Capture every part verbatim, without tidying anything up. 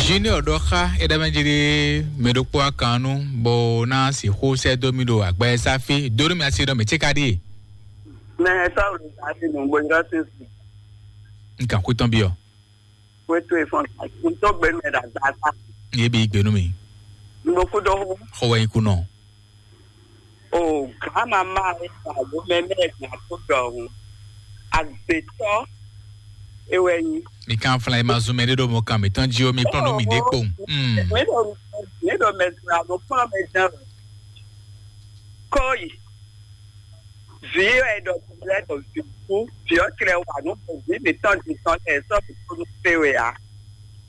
Junior ɖɔ xá é ɖɔ mɛ jí ɖé mɛ ɖokpó akan nú bó ná sixú sɛ́ dó mì ɖo agbɛsáfí dó nú mì asi ɖɔ mɛ cé ka ɖíe. Mɛ sɔ́ wò ní sáfì nǔgbó nyɔ́ sín sí. N kàn kú tɔn byɔ. Wétú ìfọ̀n kún tó gbé mɛ ɖàgbà sá. Yé bí gbénú mi. Nukú dó hú. Xɔ wɛ nyí kú nɔ. O gǎmamá alo mɛmɛ gbà tó ɖɔhun. Agbětɔ́ ewɛ nyí. Mi kan flan e ma zun mɛ ɖé ɖo mɔ kan mǐtɔn jí ó, mi kplɔ́n nú mi ɖě kpowun. Mm. Mǐ ɖo mǐ ɖo mɛ zun alo kplɔ́n mɛ jɛ́n o. Kóyi. Vǐ wɛ ɖɔ lɛ́ ɖɔ vǐ kú, vǐ ɔ́ tlɛ wa nǔ bɔ vǐ mǐtɔn din tɔn lɛ́ɛ sɔ́ mǐ kú nú fé wɛ ǎ.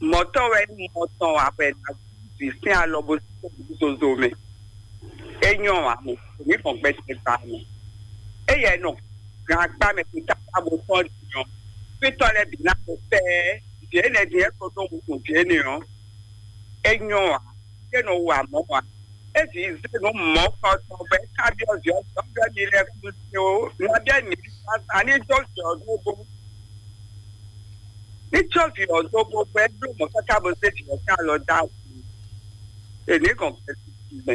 Mɔ̌tɔn wɛ nyí mɔ tɔn wɛ hwɛ ná vǐ sín alɔ bó sín zozo mɛ. É nyɔ́ ǎ mɛ, mǐ gbɔn gbɛtɛ gba mɛ. Éyɛ́ nɔ gan akpá mɛ kúta bó tɔn din ɔ́, fítɔ́ lɛ́ɛ bǐ ná ko fɛ́ vǐ énɛ́ din é ko ɖó wuntun vǐ énɛ́ ɔ́, é nyɔ́ ǎ. É nɔ wa mɔ̌ ǎ. É vǐ zé nǔ mɔ̌kɔtɔn bɔ é ka byɔ́ vǐ ɔ́, vǐ ɔ́ byɔ́ mi lɛ́ɛ kú sí ó. Nabí mi sa ní jó vǐ ɔ́ dó bó. Ní jó vǐ ɔ́ dó bó bɔ é bló mɔ̌ káká bó zé vǐ ɔ́ sín alɔ dó awu. Èní gɔn gbɛsísí mɛ.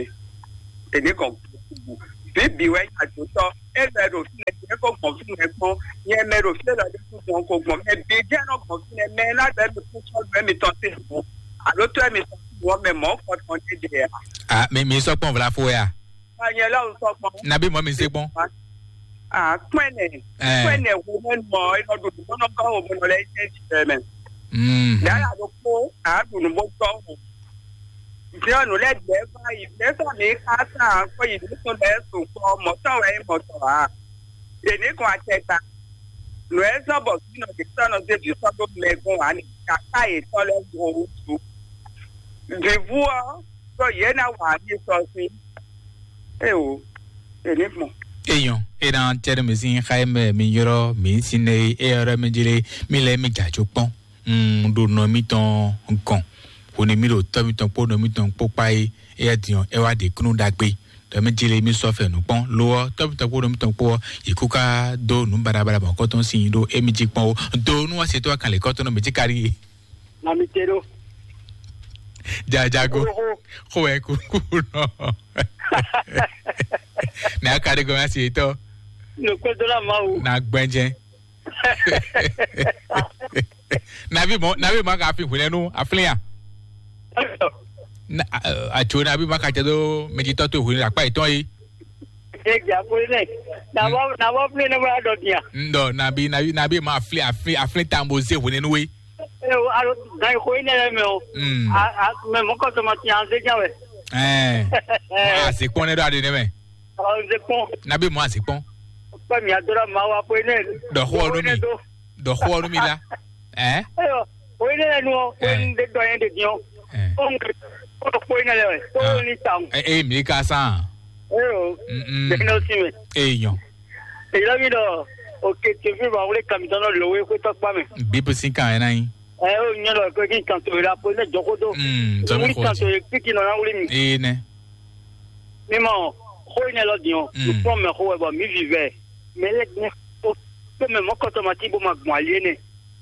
Èní gɔn gbɛsísí. Bíbí wɛ nyí àjòtɔ́. É lɔ ɛ ɖo fínɛ́, é ko gbɔn fínɛ́ kpɔ́n. Nyɛ mɛ ɖo fínɛ́ lɔ ɖé kú gbɔn ko gbɔn. Mɛ bǐ jẹ́ nɔ gbɔn fínɛ́. Mɛ ná bɛ́ mi kú sɔ́ nǔ ɛ mitɔn sí hǔn. Alo tó ɛ mitɔn sí hǔn ɔ́ mɛ mɔ̌ kɔtɔn ɖé ɖe ǎ. Ah, mi mi sɔ kpɔn vla fo ya. Anyɛ lɔ sɔ kpɔn. Nabi mɔ mi se kpɔn. Ah, kpɛnɛ. Eh. Kpɛnɛ wo mɛ nɔ e nɔ ɖo nǔ bɔ nɔ gɔ́ wo mɛ nɔ lɛ jɛ jɛ mɛ. Mm. Yàrá ló kó a ɖo nǔ bɔ gɔ́ wo. Jɔnu lɛ gbɛ va yi lɛ sɔ mi ka sa ko yi nukun lɛ so kɔ mɔtɔ wɛ mɔtɔ a. Èmi kò àtẹgbà. Nù ẹ sọ bọ sínú ìsọnù débi sọdọ mẹgún wa ní kàkà ìtọ́lẹ̀ òwútu. Vivú ọ sọ yẹn náà wà ní sọ sí. Ẹ o, èmi mọ̀. Eyɔn, e na tɛ ɖe mi sin xa mɛ mi yɔrɔ mi sin ne e yɔrɔ mi jele mi lɛ mi dza tso kpɔn. Mm, ɖo nɔ mitɔn gɔn. Hone mi ɖo tɔ mitɔn kpó nɔ mitɔn kpó kpa é, eya diɔ e wa ɖe kunu ɖagbe. Ɖɔ mi jele mi sɔ fɛ nu kpɔn. Lo ɔ, tɔ mitɔn kpó nɔ mitɔn kpó ɔ, yi kú ka do nu baɖabaɖa mɔ kɔtɔn sin ɖo emi jí kpɔn o. Do nu wa se to akan le kɔtɔn nɔ mi jí kari. Na mi te ɖo. Jajago. Oho. Xo wɛ kúkú nɔ. Ne a ka ɖe gɔmɛ asi etɔ. Nukpɛdɔla Mawu. Na gbɛnjɛ. Nabi mɔ nabi mɔ ka fi hwinɛ nu aflin ya. Na atso nabi mɔ ka tɛ do mɛjitɔ to hwinɛ akpa etɔn yi. Ege akuli nɛ. Nabɔ nabɔ fi ne bɔ adɔ dia. Ndɔ nabi nabi nabi mɔ aflin aflin aflin tambo ze hwinɛ nu we. Alo gan ko yi ne lɛ mɛ o. Mm. A a mɛ mɔ kɔsɔmɔ ti an se jan wɛ. Ɛɛ. Mɔ a se kpɔn ne do ade ne mɛ. Ɔ n se kpɔn. Nabi mɔ a se kpɔn. Kpɛ mi adora ma wa ko yi ne. Dɔ xɔ nu mi. Dɔ xɔ nu mi la. Ɛɛ. Eyɔ o yi ne lɛ nu ɔ ko yi ne de dɔ yɛn de diɔ. Ɛɛ. Ko n ko ko yi ne lɛ wɛ ko ni ta. Ɛ ɛ mi ka san. Eyɔ. Mm. Bɛn n'o si mɛ. Eyɔ. Èyí lɔ mi ɖɔ òkè tèfé ma wlé kàmìtɔn nɔ lò wé xwétɔ kpa mɛ. Bíbí sín kan ẹ̀ náà yín. Ɛ ó nyɛ ɖɔ pé kí n kan tó la pé ne jɔ xó tó. Mm, zɔmi wuli xɔ kan tó ti. Yé kpíkí nɔ ná wuli mi. Ee nɛ. Mi mɔ xó yi nɛ lɔ diɔ. Mm. Nukpɔn mɛ xó wɛ bɔ mi vivɛ. Mɛ lɛ ne xó tó mɛ mɔ kɔtɔ ma ti bó ma gbɔn ali énɛ́.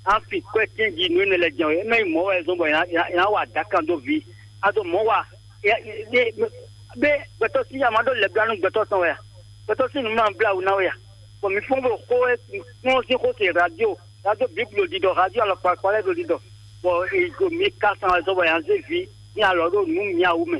An fi kɔ́ ɛ tɛ́nji nǔ énɛ́ lɛ́ɛ jɛ́n wɛ, é mɛ nyí mɔ̌ wɛ zɔ́n bɔ è nǎ- è nǎ- è nǎ wa adǎkan dó vǐ. A ɖo mɔ̌ wa, é- é- é- bé gbɛtɔ́ sín ya ma ɖó lɛ̌ blá nú gbɛtɔ́ tɔn wɛ a? Gbɛtɔ́ sín nǔ ma blá wǔ ná wɛ a? Bɔ mi fɔ́n bó xó e kplɔ́n sín xó se radio, radio Bíblu ɖiɖɔ, radio alɔkpa kpalɛ ɖo ɖiɖɔ, bɔ è ɖo mi ka san wɛ zɔ́n bɔ è nǎ zé vǐ sín alɔ ɖó nǔ mǐ awu mɛ.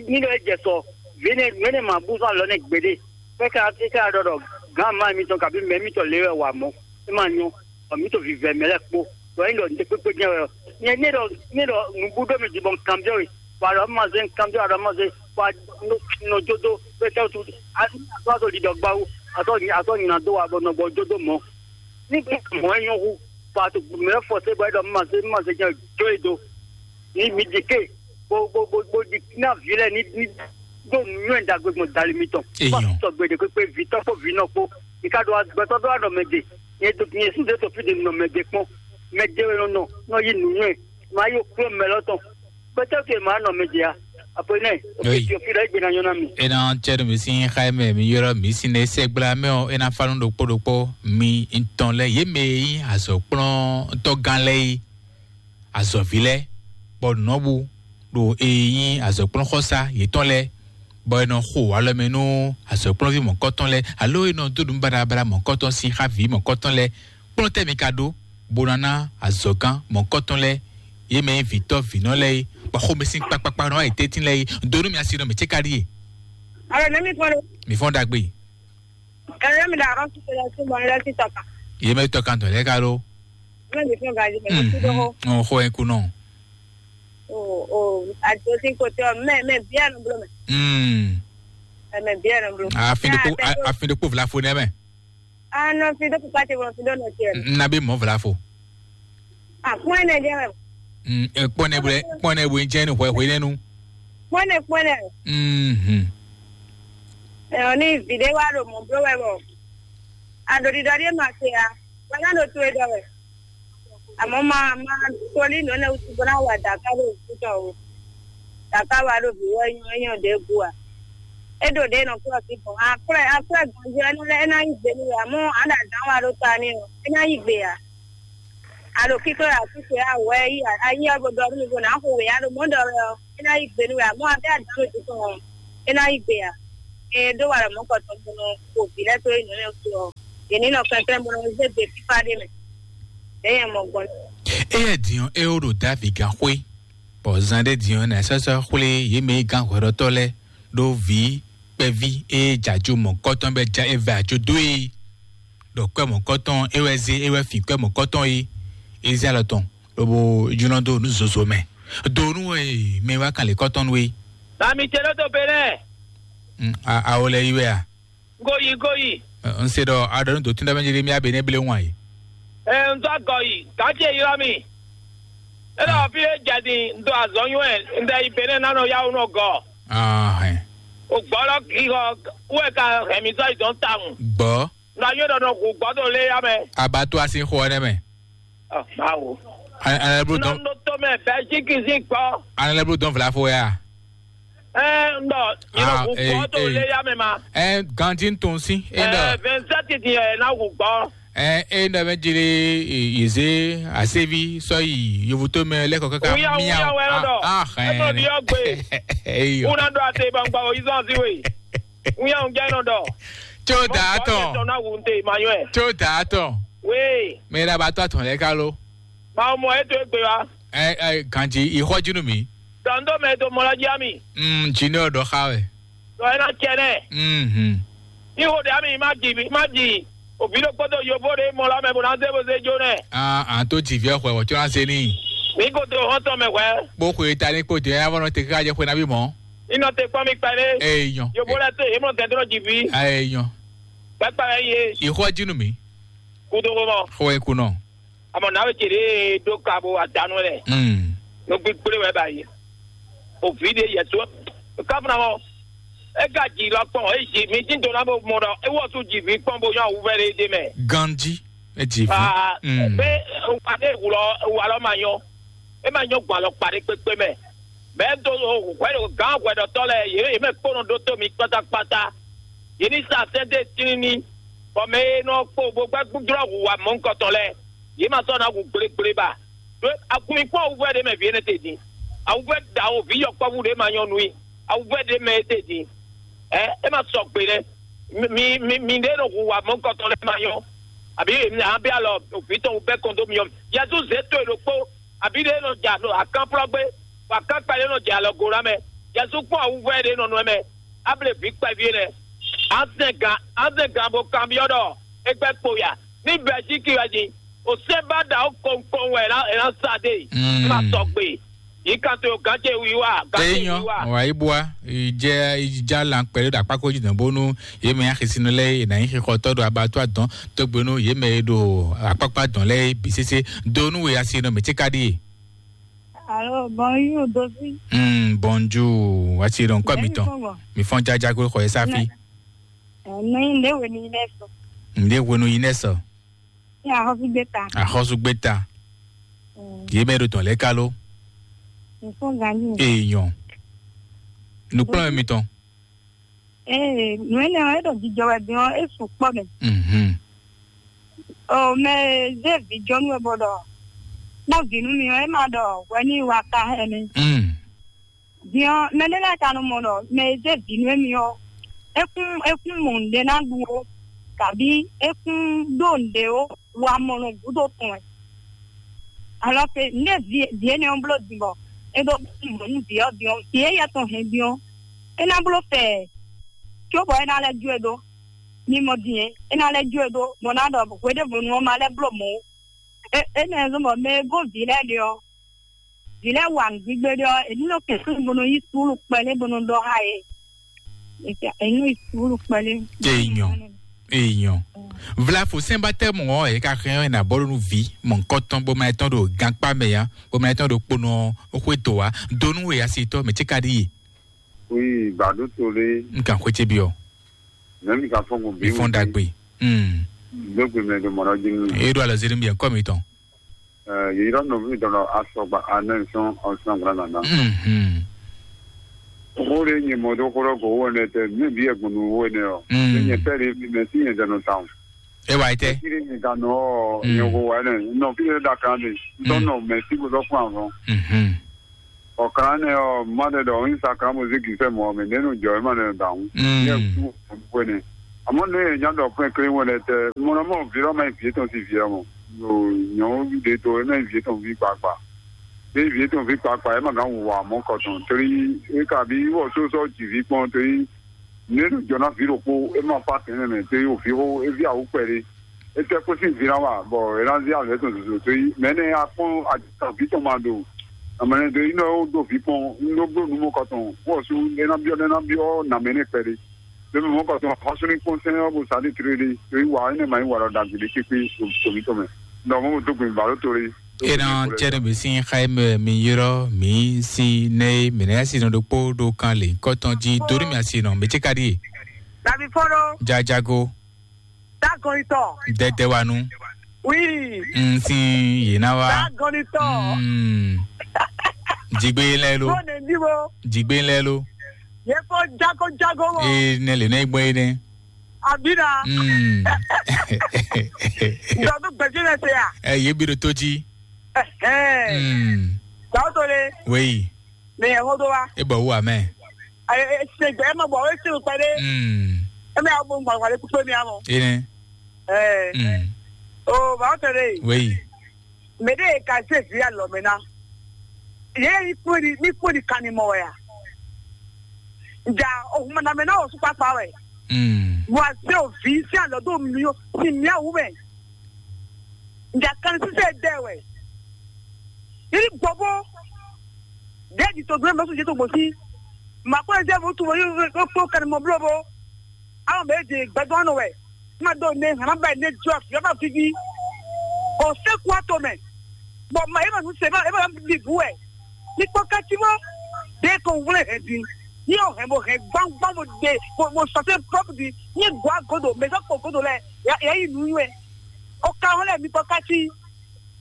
Ní ɖɔ é jɛ sɔ, vǐ énɛ́ nǔ énɛ́ ma bú zɔ́n alɔ nɛ́ gbeɖé. Fɛ́ ka é ka ɖɔ ɖɔ gǎn má mitɔn kabí mɛ mitɔn lě wɛ wa mɔ̌, é ma nyɔ́, bɔ mǐ to vivɛ mɛ lɛ́ɛ kpó, bɔ é ɖɔ nǔɖé kpékpé jɛ́n wɛ ɔ́. Nyɛ ní ɖɔ ní ɖɔ nǔbú ɖó mi jí bɔ un kanbyɔ́ we, bɔ a ɖɔ má zé un kanbyɔ́, a ɖɔ má zé, bɔ a nɔ nɔ jó dó pé tɛ́ wútu a sɔ́ ɖiɖɔ gbá wú, a sɔ́ a sɔ́ nyi nǎ dó wa bɔ nɔ gbɔ jó dó mɔ̌. Ní gbé mɔ̌ é nyɔ́ hú, bɔ a to mɛ fɔ sé bɔ é ɖɔ má zé má zé jɛ́n jó e dó. Ní mi ɖi ké bó bó bó bó ɖi ná vǐ lɛ́ɛ ní ní ɖó nǔnywɛ́ ɖagbe gbɔn dali mitɔn. Eyɔn. Má sɔgbe ɖe kpékpé vǐtɔ́ kpó vǐnɔ kpó. Mi ka ɖo agbɛtɔ́ ɖó anɔ mɛ ɖe. Nyɛ do nyɛ sín ɖě tɔ fí ɖe nɔ mɛ ɖe kpɔ́n. Mɛ ɖe wɛ nɔ nɔ nɔ yí nǔnywɛ́. Má yí okplɔ́ mɛ lɔ tɔn. Gbɛtɔ́ ke má nɔ mɛ ɖe a. Apo nɛ. Oke fi fi ɖe egbe na nyɔ na mi. Ena tsɛ ɖo mi sín xá mɛ mi yɔrɔ mi sín ne sɛgbla mɛ ɔ ena fanu ɖokpó ɖokpó mi ŋtɔn lɛ yé mɛ yí azɔ kplɔ́n tɔgán lɛ yí azɔvi lɛ. bɔ nɔbu ɖo e nyí azɔ̌kplɔ́nxɔsá yětɔn lɛ́ɛ, bɔ è nɔ xo alɔ mɛ nú azɔ̌kplɔ́nví mɔ̌kɔtɔn lɛ́ɛ, alo è nɔ dó nǔ baɖabaɖa mɔ̌kɔtɔn sín xá vǐ mɔ̌kɔtɔn lɛ́ɛ. Kplɔ́n tɛ́ mi ka ɖó, bó ná ná azɔ̌gán mɔ̌kɔtɔn lɛ́ɛ, yě mɛ nyí vǐtɔ́ vǐnɔ lɛ́ɛ é, bɔ xomɛ sín kpakpakpa nɔ wá yi tɛ́ntin lɛ́ɛ é. Donu mi asi nɔ mǐ cé ka ɖíe. Alo, nɛ́ mi fɔ́n ɖó? Mi fɔ́n ɖagbe. Ɛlɛ mi ɖo arɔn sise lɛ sí bɔ lɛ sí tɔka. Yě mɛ tɔka tɔn lɛ ka ɖó. Mɛ mi fún gaji mɛ mi sí ɖó. Ɔn xɔ ɛ kunɔ. O o ajo sí kote ɔ mɛ mɛ biɛ nu blo mɛ. Mm. Mɛ biɛ nu blo. Afin ɖokpo afin ɖokpo vlafo nɛ mɛ. Anɔ fi ɖó kpukpa te wɔ fi ɖó nɔ tiɛ. N na bí mɔ vlafo. Akpɔn ɛnɛ jɛ mɛ. Kpɔn ɛ bɔ kpɔn ɛ bɔ n jɛ ni hwɛ hwɛ nɛnu. Kpɔn ɛ kpɔn ɛ. Mhm. Ɛ ɔ ni vi ɖé wá ɖo mɔ bló wɛ bɔ. Aɖo ɖiɖɔ ɖé ma se ya. Wala ɖo to e ɖɔ wɛ. Àmọ́ máa máa tolí nǔ énɛ́ wútu bó ná wa dǎká ɖo wǔtu tɔn o. Dǎká wa ɖo vǐ wɛ nyɔ nyɔ ɖě bú a. É ɖo ɖě nɔ kúrɔ sí gbɔn. Akwɛ́ akwɛ́ gbɔn jí ɛnú lɛ́ɛ é ná nyí gbe nú wɛ àmọ́ àɖàdán wa ɖó ta n'i ɔ́, é ná nyí gbe ǎ. A ɖo kíkó wɛ a kíkó wɛ a wɛ yí a nyí ɔ́ bó ɖɔ nú mi bó ná xo wě a ɖo mɔ̌ ɖɔ wɛ ɔ́, é ná nyí gbe nú wɛ àmọ́ a bɛ́ adǎn ɖo jǐ tɔn ɔ́, é ná nyí gbe ǎ. Ée ɖó wa ɖɔ mɔ̌kɔtɔn bó nɔ xo vǐ lɛ́ɛ tó nyǐ nɛ́ wútu ɔ́, yě ní nɔ kɛnklɛ́n bó nɔ zé gbe fífá ɖé mɛ. Ɖěe nyɛ mɔ gbɔn. Éyɛ́ din ɔ́, é ó ɖo Davi gán xwé, bɔ zan ɖé din ɔ́, nǎ sɔ́ sɔ́ xwlé yě mɛ e gán hwɛɖɔtɔ́ lɛ́ɛ ɖó vǐ kpɛví e jɛ ajo mɔ̌kɔtɔn bɔ é ja é vɛ ajo dó e, ɖɔ kwɛ́ mɔ̌kɔtɔn é wɛ zé é wɛ fin kwɛ́ mɔ̌kɔtɔn e, é zé alɔ tɔn lobo jlɔ́n dó nǔ zozo mɛ. Do nú e mɛ wá kan lě kɔ́tɔn nú é. Nami ce ɖó to Benɛ́. Awo lɛ yi wɛ a? Goyi goyi. N se ɖɔ a ɖɔ nú dotún ɖɔ mɛ jɛ mi abe ne ble wan yi. Ɛ n dɔ agɔ yi gake yi lɔ mi. E ɖɔ fi e jɛ din n do azɔ nyɔɛ n ɖɛ yi Benɛ́ na nɔ yawu nɔ gɔ. Ahɛn. O gbɔ lɔ ki xɔ wɛ ka hɛn mi sɔ yi dɔn tawun. Gbɔ. N ɖɔ yɔ ɖɔ nɔ hu gbɔ do le ya mɛ. Abato asi xɔ ne mɛ. Ɔ, mawu. An an blo dɔn. Nɔ to mɛ Belgique si gbɔ. An lɛ blo dɔn vlafo ya. Ɛ n ɖɔ yɔ hu gbɔ do le ya mɛ ma. Ɛ ganti tun si. E Ɛ ɖɔ. Vingt-sept ti yɛ na hu gbɔ. Ɛ e ɖɔ mɛ jeli yeze asevi sɔ yi yovuto mɛ lɛkɔ kaka Wuya miya wuya wɛ nɔ dɔ. Ah ah Ɛ nɔ ɛ. Di ɔgbe. Eyo. Wuna dɔ ate bangba o izɔn si we. Wuya ŋjɛ nɔ dɔ. Tso da atɔ. Tɔ na wu nte ma yɔ ɛ. Tso da atɔ. We. Mɛ la ba tɔ atɔ lɛ ka lo. Ma mɔ e to egbe wa. Ɛ ɛ ganji ixɔ jinu mi. Dɔn do mɛ to mɔ la jia mi. Mm, jini ɔ dɔ xa wɛ. Dɔ ɛ na cɛ nɛ. Mhm. Ni wo de ami ma ji ma ji. Obi ɖo kpɔtɔ yovo ɖe mɔ la mɛ bo na ze bo ze jo nɛ. Ah, an to ji viɛ xwɛ wɔ tso na se ni. Mi ko to hɔn tɔ mɛ hwɛ. Kpo xwe ta ni kpo de ya vɔ nɔ te ka jɛ xwe na bi mɔ. Inɔ te kpɔn mi kpɛ ɖe. Ee nyɔ. Yovo lɛ to yemɔ gɛdrɔ ji vi. Ee nyɔ. Kpɛkpɛ ye. Ixɔ jinu mi. Kudo ko mɔ. Xɔ ekunɔ. Amɔ na we ce ɖe ɖo ka bo adanu lɛ. Mm. No gbigble wɛ ba yi. O vi ɖe yɛ so. Kafuna mɔ. E ka ji lɔ kpɔn e ji mi ti do na bo mɔ dɔ e wɔ su ji vi kpɔn bo yɔ awuvɛ ɖe ɖe mɛ. Ganji e ji vi. Aa Mm. Be wa ɖe wulɔ wa lɔ ma yɔ. E ma nyɔ gbɔn alɔ kpa ɖe kpekpe mɛ. Mɛ do hwɛ ɖo gán hwɛɖɔtɔ lɛ yě yě mɛ kpɔnɔ ɖótó mi kpátákpátá. Yě ní sa sɛ́dé tlíní, bɔ mɛ e nɔ kpo bó gbɛ́ gbúdúrɔ́ hu wa mɔ̌hunkɔtɔn lɛ́ɛ, yě ma sɔ́ ná hu gblégblé ba. Ɖó agun mi kpɔ́n awuvɛ́ ɖé mɛ vǐ énɛ́ te din. Awuvɛ́ ɖawo vǐ yɔkpɔ́vú ɖé ma nyɔ́ nú i. Awuvɛ́ ɖé mɛ é te din. Ɛ é ma sɔgbe nɛ́. Mi mi mi ɖé nɔ hu wa mɔ̌hunkɔtɔn lɛ́ɛ ma nyɔ́. Àbí mi ná bí alɔ vǐ tɔn wú bɛ́ kɔn dó mi ɔ́. Yɛzu zě to e ɖokpó. Àbí ɖé nɔ ja ɖo akánplɔ́gbé, bɔ akánpa ɖé nɔ jɛ alɔgo ná mɛ. Jezu kpɔ́n awuvɔ ɖé nɔ nɔ mɛ, able vǐ kpɛví lɛ. Azɛn gǎn azɛn gǎn bó kanbyɔ́ ɖɔ é gbɛ́ kpo ya. Ní Bɛlzíki wɛ din, o sɛ́n ba ɖa ó kɔnkɔn wɛ é ná sa ɖe. Mm. É ma sɔgbe. Yǐ kan to gǎn ce wiwa, gǎn ce Eyɔn, wiwa. Wà yí bua, ìjẹ́ ìjà là ń pẹ̀lú dàpákó jìnnà bónú yémɛ axisinu lɛ yìí nà nyí xixɔtɔ ɖo abattoir dɔn tó gbénú yémɛ e ɖo akpákpá dɔn lɛ yìí bǐ sésé. Donu wɛ asi nɔ mɛ tí ka ɖíe. Alo, bonjour, Dozi. Mm, bonjour, wati ɖo ŋkɔ mi tɔn. Mi fɔn jaja kple xɔ esafi. Nɛ nde wenu yi nɛ sɔ. Nde wenu yi nɛ sɔ. Ní axɔ́súgbéta. Axɔ́súgbéta. Mm. Yě mɛ ɖo tɔn lɛ kalo. Mi fɔn ganji. Èèyàn. Nukplɔ́n mi tɔn. Ee, nǔ énɛ́ ɔ́, é ɖo jijɔ wɛ din ɔ́, é sukpɔ́ mɛ. Mhm. O mɛ e zé vǐjɔnú wɛ bɔ ɖɔ kpɔ́n vǐ nú mi ɔ́, é ma ɖɔ hwɛ ní wa ka hɛn mi. Mm. Din ɔ́, mɛ ɖé lɛ́ɛ ka nɔ mɔ ɖɔ mɛ e zé vǐ nú émí ɔ́, é kún é kún mɔ nǔɖé ná ɖu ó, kabí é kún ɖó nǔɖé ó, wa mɔ nɔ gúdo tɔn wɛ. Alɔ ke nǔɖé vǐ vǐ énɛ́ ɔ́ bló din bɔ é ɖó mɔ nú vǐ ɔ́ din ɔ́, vǐ éyɛ́ tɔn hɛn din ɔ́, é ná bló fɛ cóbɔ é ná lɛ́ jó e ɖó. Mi mɔ din é, é ná lɛ́ jó e ɖó, bɔ ná ɖɔ hweɖěvonu ɔ́ ma lɛ́ bló mɔ̌ ó. É énɛ́ zɔ́n bɔ mɛ e gɔ́n vǐ lɛ́ɛ ɖe ɔ́, vǐ lɛ́ɛ wa nǔgbígbé ɖé ɔ́, è ní nɔ kɛn sín bo nɔ yí suúlu kpɛɖé bo nɔ ɖɔ xá yě. È ní nɔ yí suúlu kpɛɖé. Èèyàn, èèyàn. Vlafo sɛnbatɛ mɔ ɔ́, è ka xɛn ɔ́, è nǎ bɔ́ nú vǐ mɔ̌hunkɔtɔn bó ma etɔn ɖo gankpá mɛ ǎ, bó ma etɔn ɖo kponɔ xwé dǒ wá. Donu e asitɔ mɛ ce ka ɖi ye. Oui, bado to le. N kan xwé ce bi ɔ. Mɛ mi ka fɔn ko bi. Mi fɔn dagbe. Hmm. Dogbe mɛ do mɔnɔ jin. E ɖo alɔ ziri mi kɔ mi tɔn. Yeyira nɔvi dɔnɔ asɔgba anɛ sɔn ɔsɔn gbla nana. Mhm. Xó ɖé nyɛ mɔ dó xó ɖɔ go wó ɛnɛ tɛ, mí bí ɛgbɔn nu wó ɛnɛ ɔ. Mm. Nyɛ pɛ ɖé mɛ sí nyɛ dɛnɔ tawun. E wa yi tɛ. Kí ni nyɛ ka nɔ ɔ, Mm. nyɛ ko wa ɛnɛ. Nɔ fi yɛ da kan de. Dɔnɔ mɛ sí ko dɔ fún àwọn. Mhm. Ɔ kan nɛ ɔ, ma ɖe ɖɔ yin sa kan mo zé gisɛ mɔ mɛ nenu jɔ e ma nɛ da ŋu. Mm. Yɛ ku ko ne. Àmọ́ ne nya dɔ fún kle wɛn lɛ tɛ, mo nɔ mɔ vi lɔ ma yi vi tɔn si vi mɔ. Yo nyɔnu ɖe to e ma yi vi tɔn vi kpakpa. Ɖe vi tɔn vi kpakpa e ma gán wɔ amɔ kɔtɔn. Torí e ka bi wɔ so sɔ ji vi kpɔn torí ne nu jɔ na vi ɖokpo e ma fa tɛnɛ mɛ torí o vi xo e vi awu kpɛ ɖe. Etɛ kpó sín vǐ ná wa, bɔ è nǎ zí alɔ étɔn zozo tó yi. Mɛ énɛ́ a kpɔ́n ajɔ̌ vǐ tɔn ma ɖo amɛnɛ dó yi nɔ ó ɖó vǐ kpɔn, un ɖó bló nǔ mɔ kɔtɔn, bó ɔ́ sú é ná byɔ́, é ná byɔ́ nǎ mɛ énɛ́ kpɛɖé. Lě mɛ mɔ̌ kɔtɔn, xɔsúní kpɔ́n sɛ́n ɔ́, bó sa ní tlélé, é yi wa énɛ́ ma nyí wa ɖɔ ɖagbe ɖé kpékpé ɖo mǐ tɔn mɛ. Ɖɔ mɔ̌ ɖo dó gbe mǐ ba ɖó tóli. É nɔ cɛ ɖo mǐ sín xá e mɛ mi ylɔ́ mǐ sín nɛ́ e mǐ ná yá sin nɔ ɖokpó ɖo kan lě kɔtɔn jí dó ɖo mì asi nɔ mǐ cí ka ɖíe. Davi fɔ́n ɖó. Jajago. Dagɔnitɔ. Dɛdɛwanu. Oui. N sin yě ná wá. Dagɔnitɔ. Mm. Jigbe lɛ lo. Bó ne bí wo. Jigbe lɛ lo. Yé kó jago jago mɔ. Ee, ne le ne gbɔ ye ne. Abina. Mm. Dɔ tó gbèsè lɛ se ya. Ɛ yé bi ɖo tó jí. Ɛhɛn. Mm. Gawo to le. Wéyi. Mɛ yẹn xó dó wa. E bɔ wú amɛ. Ayi, e se gbɛ, e ma bɔ, e se gbɛ ɖe. Mm. E mɛ awo gbɔn gbɔn kpɛɖe kpekpe mi amɔ. Ene. Ɛɛ. Mm. O ba o tɛ de. Wéyi. Mɛ de ka se vi alɔ mɛ na. Ye yi kpɔn di, mi kpɔn di kan ni mɔ wɛ ya. Nja o kuma na mɛ na o su kpakpa wɛ. Mm. Wa se o vi se alɔ do mi o si mi awu mɛ. Nja kan sise dɛ wɛ. Yiri gbɔbo. Dɛ di to gbe mɛ su je to gbosi. Ma ko ze mo tu mo yo ko kan mo blo bo. Awo mɛ de gbɛdɔn nɔ wɛ. Ma do ne hana ba ne jɔ fi ma fifi. O se ku ato mɛ. Bɔ ma e ma nu se ma e ma bi bu wɛ. Mi kpɔ kati mɔ. De ko wle hɛ di. Ni o hɛ mo hɛ gbangban mo de mo mo sase prop di. Ni gwa godo mɛ sɔ kpɔ godo lɛ. Ya ya yi nu wɛ. O ka hɔn lɛ mi kpɔ kati.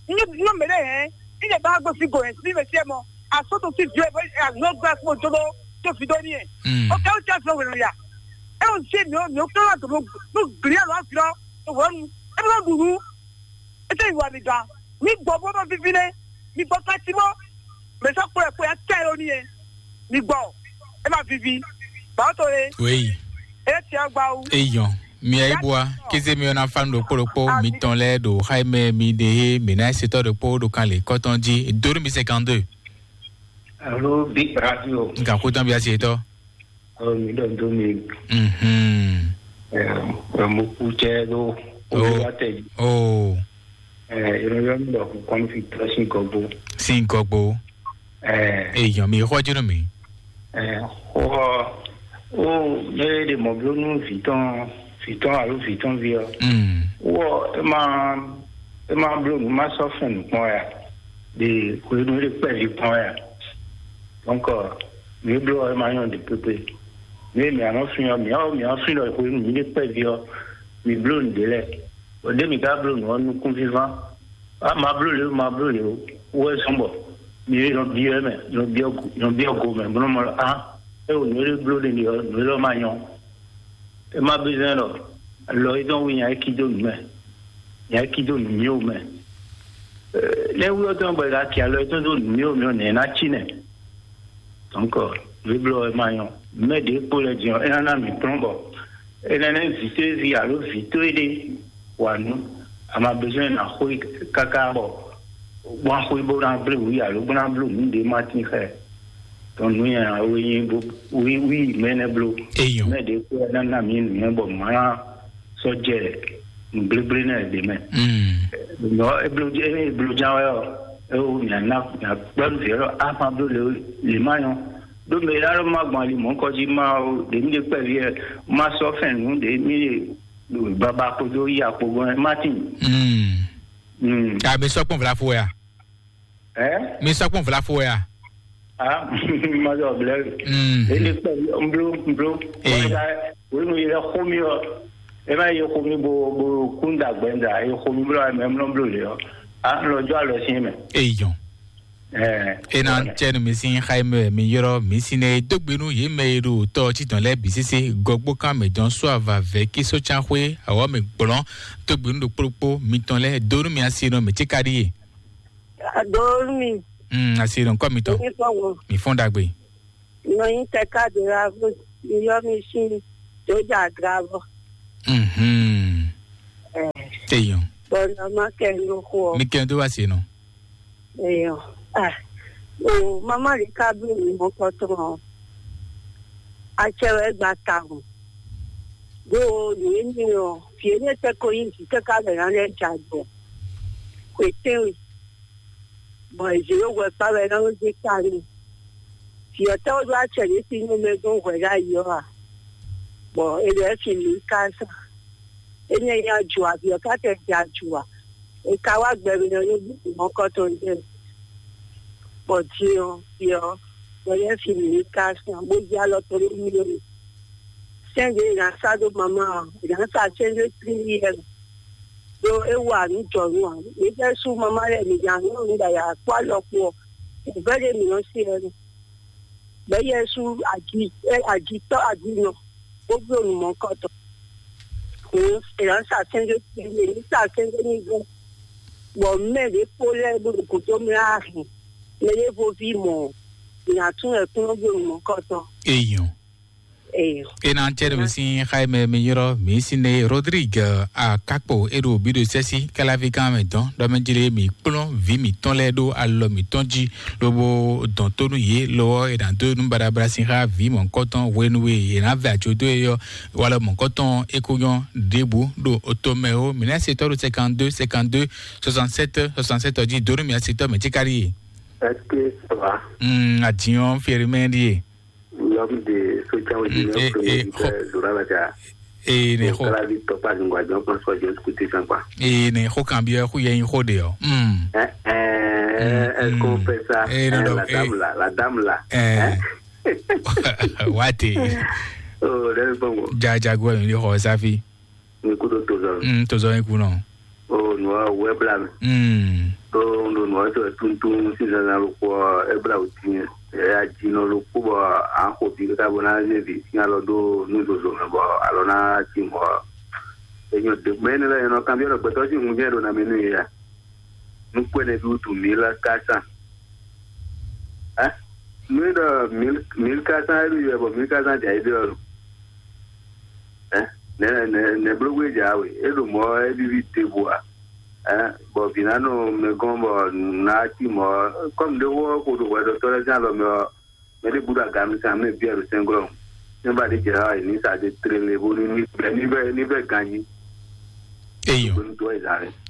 Nyɔ mɛ ɖe hɛn, ní lè bá gbé fi go hɛn sí mɛ sí ɛ mɔ, asó tó sí viɔ ɛ bɔ agbɔn gbé akpó jó ɖó tó fi dó ní ɛ. Mm. O kɛ o tɛ fɛ wɛrɛ ya. E o se mi o mi o kɛ wa dòdò no gli alo afi lɔ, o wɔ nu, e bɛ ɖu nu. E tɛ yi wa mi gan. Mi gbɔ bɔ bɔ vivi nɛ, mi gbɔ kati mɔ, mɛ sɔ kplɔ ɛ kplɔ ya tɛ ló ní ɛ. Mi gbɔ, e ma vivi. Ba o to ye. Wéyi. E tiɛ gba wu. Eyɔn. Mia yi bua, kéze mi ɔna fa nu ɖokpó ɖokpó, mi tɔn lɛ ɖo xayi mɛ mi ɖe he mi na setɔ ɖokpó ɖo kan le kɔtɔn jí. Dori mi cinquante-deux. Alo, Big Radio. Nka kó tán bi asi etɔ. Ɔ, mi ɖɔ do mi. Mhm. Ɛ, ɛ, mo ku cɛ ɖo. Oh. Olúwa tɛ. Oh. Ɛ, yɔrɔ yɔrɔ mi ɖɔ kɔn fi tɔ sin gɔgbo. Sin gɔgbo. Ɛ. Eyɔn mi xɔ jínú mi. Ɛ, xɔ, o, ne ɖe mɔ blo nú vǐ tɔn, vǐ tɔn alo vǐ tɔn ví ɔ. Mm. Wɔ, e ma, e ma blo nú ma sɔ fɛn nukpɔn ya. Ɖe hwenu ɖe kpɛ vi kpɔn ya. Donc, mi blo ɔ, e ma nyɔ ɖe kpekpe. Mi mi anɔ fin ɔ, mi ɔ, mi ɔ fin ɖɔ hwenu mi ɖe kpɛ vi ɔ, mi blo nǔɖé lɛ. O ɖe mi ka blo nǔ ɔ nukún víván. A ma bló lě o, ma bló lě o. Wɛ sɔn bɔ mi nɔ biɔ ɛ mɛ, nɔ biɔ go, nɔ biɔ go mɛ, bó nɔ mɔ a, e o nǔ e bló ɖe ɖe ɔ, nǔ e lɔ ma nyɔ. E ma bí zɛn lɔ, lɔ e dɔn wi nya e ki dó nǔ mɛ, nya e ki dó nǔ mì o mɛ. Ɛ, Nɛ́ wú ɔ́ tɔn bɔ è ka kɛ alɔ tɔn dó nǔ mì ó mì ó nɛ̌ ná cí nɛ́? Donc, vǐbló ɔ́ ma nyɔ. Mɛ ɖě kpo lɛ din ɔ́, é ná ná mì kplɔ́n bɔ é ná nɛ́ vǐ towe ví alo vǐ towe ɖé wa nǔ. A ma besoin ná xwé káká bɔ wá xwé bó ná blé wǔ alo bó ná bló nǔ ɖé ma tín xɛ. Donc nǔ nyanya wé nyí bó wí wí mɛ nɛ bló. Eyɔn. Mɛ ɖě kpo lɛ ná ná mì nǔ nyɛ bɔ mǎ ná sɔ́ jɛ nǔgblégblé nɛ́ ɖě mɛ. Nɔ eblo eblo ján wɛ ɔ́, ewo mia na mia kpɛnu vǐ ɔ́, a ma bló le le ma nyɔ. Ɖó mɛ la lɔ ma gbɔn ali mɔ̌ kɔ jí ma o ɖe mi ɖe kpɛví ɛ ma sɔ fɛn nǔ ɖe mi ɖe baba kpodo yi akpo gbɔn ɛ ma tin. Mm. A mi sɔ kpɔn vlafo ya. Ɛ? Mi sɔ kpɔn vlafo ya. Ah, ma jɔ blɛ. Mm. Ele kpɛví mblo mblo. Ee. Wenu yi lɛ xó mi ɔ. E ma yi xó mi bo bo kunda gbɛnda yi xó mi blɔ mɛ mlɔ blɔ le ɔ. A lɔ jɔ alɔ si mɛ. Eyɔn. Ɛ. Ena cɛnu mi sin xayi mɛ mi yɔrɔ mi sin ne dogbe nu ye mɛ ye ɖo tɔ titɔn lɛ bi sese gɔgbo kan mɛ dɔn so ava vɛ kiso can xwe awɔ mi gblɔn dogbe nu ɖo kplokpo mitɔn lɛ do nu mi asi nɔ mi tsi ka ɖi ye. Adonu mi. Mm, asi nɔ kɔ mitɔn. Mi fɔ wo. Mi fɔn dagbe. Nɔ yin tɛ ka de la vo. Mi yɔ mi sin. Joja dravo. Mhm. Eh. Eyɔn. Bɔn nɔ ma kɛ nɔ xo. Mi kɛ do wa se nɔ. Eyɔn. Ah. O mama li ka bi mi mɔ kɔtɔn. Acɛ wɛ gba ta hùn. Ɖo nǔ énɛ́ ɔ́, vǐ énɛ́ tɛ́ ko nyí vǐ káká lɛ̌ ná lɛ́ jɛ ajɔ. Xwetɛ́nwe, bɔ è zě ɖó hwɛkpá wɛ é ná nɔ́ zé ta n'i. Vǐ ɔ́ tɛ́ wɛ ɖó acɛ ɖě sín nú mɛ gɔ́n hwɛ ɖ'ayǐ ɔ́ a? Bɔ è ɖɔ é fin mǐ ká sa. Énɛ́ nyí ajo a? Vǐ ɔ́ ká tɛ jɛ ajo a? È ka wá gbɛ mì ɔ́, é bú mɔ̌kɔtɔn jɛ. Bɔ din ɔ́, din ɔ́, bɔ yɛ fi mǐ ní ka sɔn, bó jí alɔ tó ní mí lónìí. Sɛ́n ɖě è nǎ sá dó mamá ɔ́, è nǎ sa sɛ́n ɖé tlílí yɛ mɛ. Ɖó é wa nǔ jɔ̌nu ǎ. Mǐ fɛ́ sú mamá lɛ́ɛ mǐ nya nú nǔ ɖagbe kpó alɔ kpó ɔ́, nǔvɛ́ ɖé mǐ nɔ́ se wɛ nú. Bɛ̌ yɛ sú agi ɛ agitɔ́ aginɔ, bó bló nǔ mɔ̌kɔtɔn. Hǔn è nǎ sa sɛ́n ɖé tlílí, è nǐ sa sɛ́n ɖé ní gbɔn. Bɔ mɛ ɖě kpó lɛ́ɛ bó ɖo gǔdo mlá hɛn mɛ ɖěvo ví mɔ̌, è nǎ tún wɛ kplɔ́n dó nǔ mɔ̌kɔtɔn. Eyɔn. Eyɔn. Ena cɛ ɖo mi sin xayi mɛ mi yrɔ mi sin ne Rodrigue Akakpo e ɖo bi ɖo sɛsi kalavi kan mɛ dɔn ɖɔ mɛ jile mi kplɔn vi mi tɔn lɛ ɖo alɔ mi tɔn ji lobo dɔn to nu ye lɔ e na do nu barabara sin xa vi mɔkɔtɔn hwenu e e na vɛ atso do e yɔ walɔ mɔkɔtɔn e ko nyɔ ɖebu ɖo oto mɛ o mi na se tɔ ɖo cinquante-deux cinquante-deux soixante-sept soixante-sept ji do nu mi a se tɔ mɛ ti kari ye. Est-ce que ça va? Hmm, adiyan fierimɛ ɖi ye. L'homme de social media, mm, eh, eh, premier leader, Zora Laja. Eh, ne ho. Kala di topa zungwa jɔ kɔn sɔ jɔ kuti san kwa. Eh, ne ho kan bi ho ye ho de yo. Hmm. Eh, eh, est-ce qu'on fait ça? Eh, non, eh, non, la dame là, la dame là. Eh. Wati. Oh, le bongo. Ja ja go ni ho safi. Ní kúdó tozɔ. Mm, tozɔ yín kú nɔ. O nua wɛ bla mi. Mm. O ndo nua sɔ tuntun si zan zan lukpɔ ebla o ti. E ya ji nɔ lukpɔ bɔ an ko bi ka bo na ne bi si alɔ do nu zozo mɛ bɔ alɔ na ti mɔ. Enyo de mɛ ne la enɔ kan bi ɔlɔ gbɛtɔ si hun jɛ do na mi nu ya. Nukpɛnɛ bi wutu mille quatre cents. Hein? Mille, euh, mille, mille quatre cents, elle lui, bon, mille quatre cents déjà, il dort. Hein? Ne, ne, ne, bloqué déjà, oui. Et le mot, elle vit de bois. Hein? Bon, finalement, mais comme, bon, na ti mo, comme de wo ko do wa do tola jan lo me, me de buda gam sa me bien le sengro. Ne ba de jera ni sa de trele bo ni ni ni be ni be gagné. Eyɔn.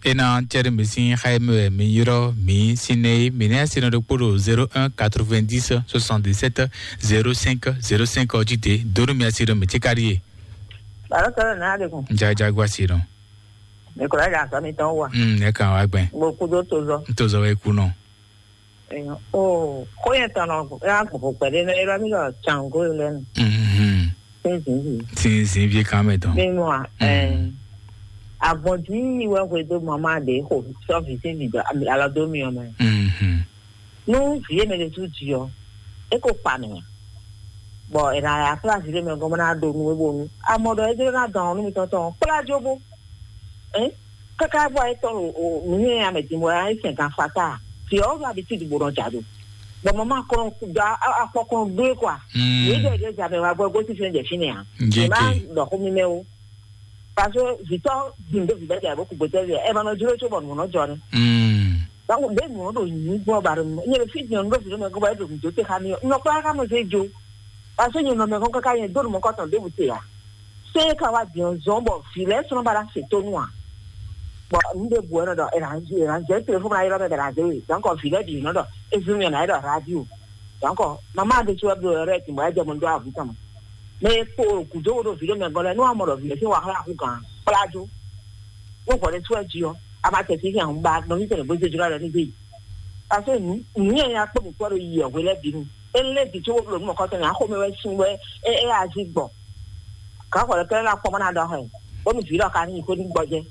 Ena cɛri mi sin xayi mi wɛ mi yrɔ mi sin ne mi ne sin ɖokpo ɖo zéro un quatre-vingt-dix soixante-dix-sept zéro cinq zéro cinq ɔdzi de donu mi asi ɖo mi ti ka ɖi ye. Baro tɔrɔ na de kun. Jajagu asi ɖo. Mikola ja sɔ mi tɔn wa. Mm, ne kan wa gbɛn. Mo kudo tozɔ. Tozɔ wɛ kunɔ. Eyɔn. O ko yɛ tɔnɔ ya gbogbo gbɛde ne eba mi lɔ tsango lɛ nu. Mhm. Sinzin. Sinzin vie kan mɛ tɔn. Bɛ mo a. Ɛɛ. Avɔdi wɛ hwe do mama de ko sɔvi se mi do alɔ do mi ɔmɛ. Mhm. Nu vie mɛ de tu di ɔ. E ko pa mi. Bɔ e na ya kpla vi de mɛ gɔmɔ na do nu e bo nu. Amɔ dɔ e de na dɔn nu mi tɔn tɔn. Kpla jo bo. Ɛn. Kaka bɔ etɔn o nunye ya mɛ din bɔ ya sɛn kan fata. Fi o do habitude bo nɔ ja do. Bɔ mama kɔn da akpɔ kɔn do kwa. Ye de de ja mɛ wa bɔ go ti fɛn jɛ fini ya. Ema dɔ ko mi mɛ o. Parce que vitɔ din do vi bɛ ja bo ku gbɛtɛ vi. E ma nɔ juro cho bɔ nu nɔ jɔ ni. Donc be nu do nyi gbɔ ba do. Nye fi din do vi mɛ go ba do do te ka mi. No kwa ka mo se jo. Parce que nye no mɛ ko kaka nye do mo ko ton de bu te ya. Se ka wa din zɔn bɔ vi lɛ sɔn ba la se to nu a. Bɔn nu ɖe bu ɛnɔ ɖɔ eranzi eranzi ɛ telefɔni ayɔ bɛ eranzi ɛ donc vi lɛ bi nɔ ɖɔ ezun yɛn ayɔ ɖɔ radio. Donc mama de tso ɛblo yɔrɔ ɛ ti mɔ ɛjɛ mo do avu tɔn. Mɛ kpo gudo wo ɖo vi ɖe mɛ gɔlɛ nu amɔ ɖɔ vi lɛ ti wa xla ku gan kpladzo. Wo gbɔ ɖe tso ɛdzi ɔ ama tɛ ti hɛn ba nɔ mi tɛ ne bo zedzra ɖɔ ni de yi. Parce que nu nu yɛn ya kpɔ mi kpɔ ɖo yi ɛhwe lɛ bi nu. Ele di tso wo blo nu mɔ kɔtɔ ni axome wɛ sun wɛ e e azi gbɔ. Gǎn xɔ ɖé kɛ́ɖɛ́ ná kpɔ́n bó ná ɖɔ xɛ, bónú vǐ lɔ ka ní yi xwé ní gbɔjɛ́.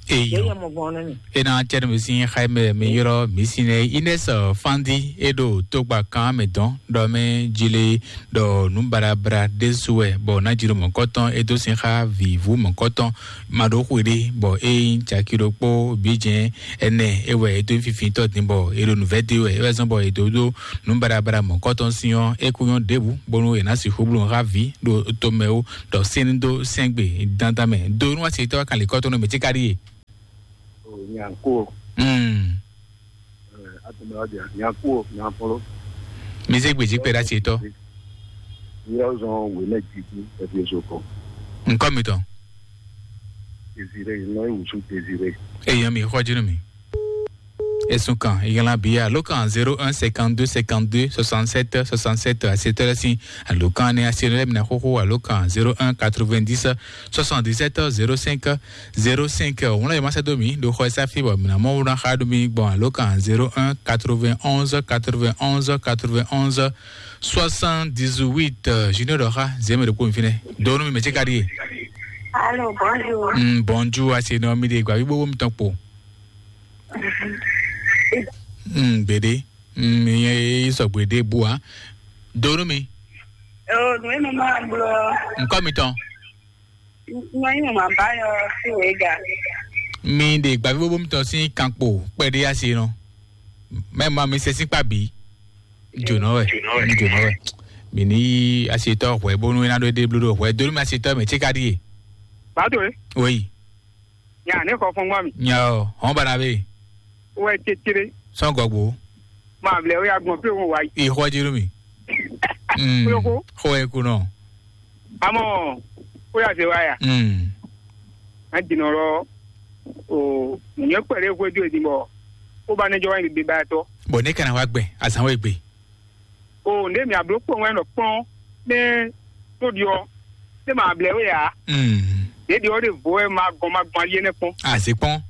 Yě Eyɔ. Nyɛ mɔ gbɔn nú mì. Ena cɛɖɛ mi sin xaimɛ mi ylɔ mi sin nɛ Ines Fandi e ɖo togba kan mɛ dɔn ɖɔ mɛ jile ɖɔ nu barabra ɖésú wɛ bɔ ná jilo mɔ̌kɔtɔn e dó sin xá vǐvú mɔ̌kɔtɔn ma ɖó xwe ɖé bɔ e nyí caki ɖokpó bǐ jɛ́n ɛnɛ e wɛ e dó nyí fifitɔ́ din bɔ e ɖo nǔvɛ́ dó wɛ e wɛ zɔ́n bɔ e dó ɖó nǔ baɖabaɖa mɔ̌kɔtɔn sín ɔ́, é kú nyɔ́ ɖěbǔ, bónú è nǎ sixú bló xá vǐ ɖo tomɛ wú, ɖɔ sɛ́n dó sɛ́n gbe dandan mɛ. Do nú asitɔ́ kanlin kɔ́tɔn nú mɛ cíká ɖíe. Nyanko. Mm. Atɔmɛ wa dia nyanko nyanfɔlɔ. Mi zé gbèjì pé ɖa asitɔ́. Yíyá zɔn wèmɛ jiji ɛfieso kɔ. Nkɔ mitɔn. Désiré, nɔ iwusu Désiré. Eyàn mi xɔ jínú mi. Ẹ̀sùn kan, ìyànlá bíi àlókàn zéro un cinquante deux cinquante deux soixante sept soixante sept àṣetọ́lẹ́sìn àlókàn ní àṣeyọrẹ mìíràn xóxó àlókàn zéro un quatre vingt dix soixante dix sept zéro cinq zéro cinq. Òun náà yóò má sẹ́dọ̀ mí ló xɔ ẹsẹ́ àfihàn mìíràn mọ́ wúrán xá dó mi gbọ̀n àlókàn zéro un quatre vingt onze quatre vingt onze quatre vingt onze soixante dix huit. Junior dɔ̀xa zémi ɖo kpó mi fínɛ donu mi mɛ tí ka ɖíe. Allô, bonjour. Mm, bonjour, àṣeyọrẹ mi ɖe gbàgbé gbogbo mi tán kpo. Mm, gbede. Mm, mi ye sɔgbe ɖe bua. Donu mi. Oh, nú enu máa gblɔ. Nkɔ mi tɔn. Nɔ inu máa bá yɔ sí wèé ga. Mi ɖe gbavi bobo mi tɔn sín kankpo kpɛɖé asi nɔ. Mɛ ma mi se sín kpa bǐ. Jònɔ wɛ. Jònɔ wɛ. Mi ní asi tɔ hwɛ bónú iná ɖó dé bló ɖó hwɛ donu mi asi tɔ mɛ tí ka ɖíe. Bàtò é. Oyi. Nya ne xɔ fɔn gbɔ mi. Nya o, hɔn bana be. Wɛ tete. Sɔn gɔgbo. Ma vlɛ o ya gbɔn pe o wa yi. Ixɔ jiru mi. Mm. Kúlókó. Xɔ ẹ kunɔ. Amɔ o ya se wa ya. Mm. A dinɔ lɔ o nyɛ kpɛlɛ xwe do edin bɔ o ba ne jɔ wa yi bi ba tɔ. Bɔn ne kana wa gbɛ azan wo egbe. O nde mi ablo kpɔn wɛ nɔ kplɔn ne to di ɔ ne ma blɛ we ya. Mm. Ɖeɖi ɔ ɖe vo wɛ ma gɔn ma gbɔn ali ɛnɛ kpɔn. A se kpɔn.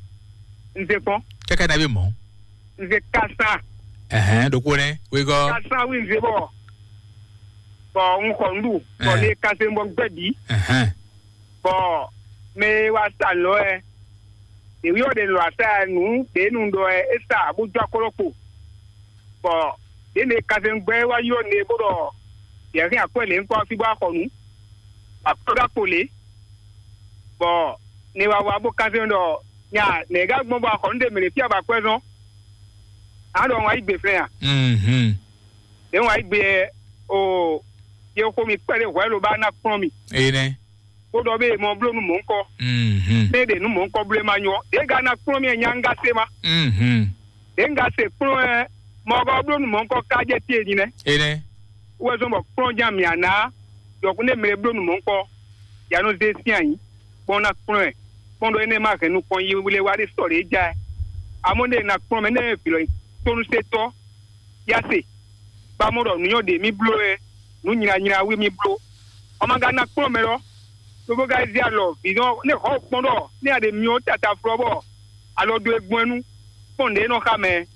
N se kpɔn. Kaka na bi mɔ. N se kasa. Ɛhɛn, ɖokpó nɛ wegɔ. Kasa wi n se bɔ bɔ n xɔ n ɖu bɔ ne kase n bɔ gbɛ bi. Ɛhɛn. Bɔ mɛ e wa sa lɔ ɛ ɖewi ɔ ɖe lɔ asa ɛ nu ɖe nu ɖɔ ɛ e sa bó jɔ akɔlɔ kpo. Bɔ ɖe ne kase n gbɛ wa yɔ ne bó ɖɔ yɛ hɛn akwɛ lɛ n kɔ fi bɔ axɔ nu. Akɔlɔ ɖo akpo lɛ. Bɔ ne wa wa bó kase n ɖɔ nya nɛ ga gbɔn bɔ axɔ nu ɖe mɛ ɖe fia ba akwɛ zɔn. A ɖɔ wa yi gbe flɛ a? Mhm. Ɖe wa yi gbe o ye xo mi kpɛ ɖe hwɛ lo ba na kplɔn mi. Ene. Kó ɖɔ bé mɔ bló nú mɔ̌ ŋkɔ. Mhm. Né ɖe nú mɔ̌ ŋkɔ bló ma nyɔ. Ɖě ga ná kplɔ́n mì nya ŋgá se ma. Mhm. Ɖě ŋgá se kplɔ́n ɛ mɔ ɔgɔ bló nú mɔ̌ ŋkɔ ká jɛ tie din nɛ. Ene. Wɛ zɔn bɔ kplɔ́n jan mì ana. Yɔkun ne mɛ bló nú mɔ̌ ŋkɔ. Ya nɔ zé sín anyi. Kpɔn ná kplɔ́n ɛ. Kpɔn ɖɔ énɛ́ ma hɛn nukɔn yi wle wá ɖe sɔ ɖě ja ɛ. Amɔ̌ ne na kplɔ́n mɛ ne vǐ lɔ tónú se tɔ́. Ya se, ba mɔ ɖɔ nǔ nyɔ́ ɖě mì bló wɛ, nǔ nylanyla wí mì bló. Ɔ́ ma ka ná kplɔ́n mɛ lɔ, lobo ka zé alɔ vǐ nɔ ne xɔ kpɔ́n ɖɔ ne a ɖe myɔ tata flɔ bɔ alɔ dó e gbɔn ɛ nu kpɔ́n ɖě nɔ xa mɛ.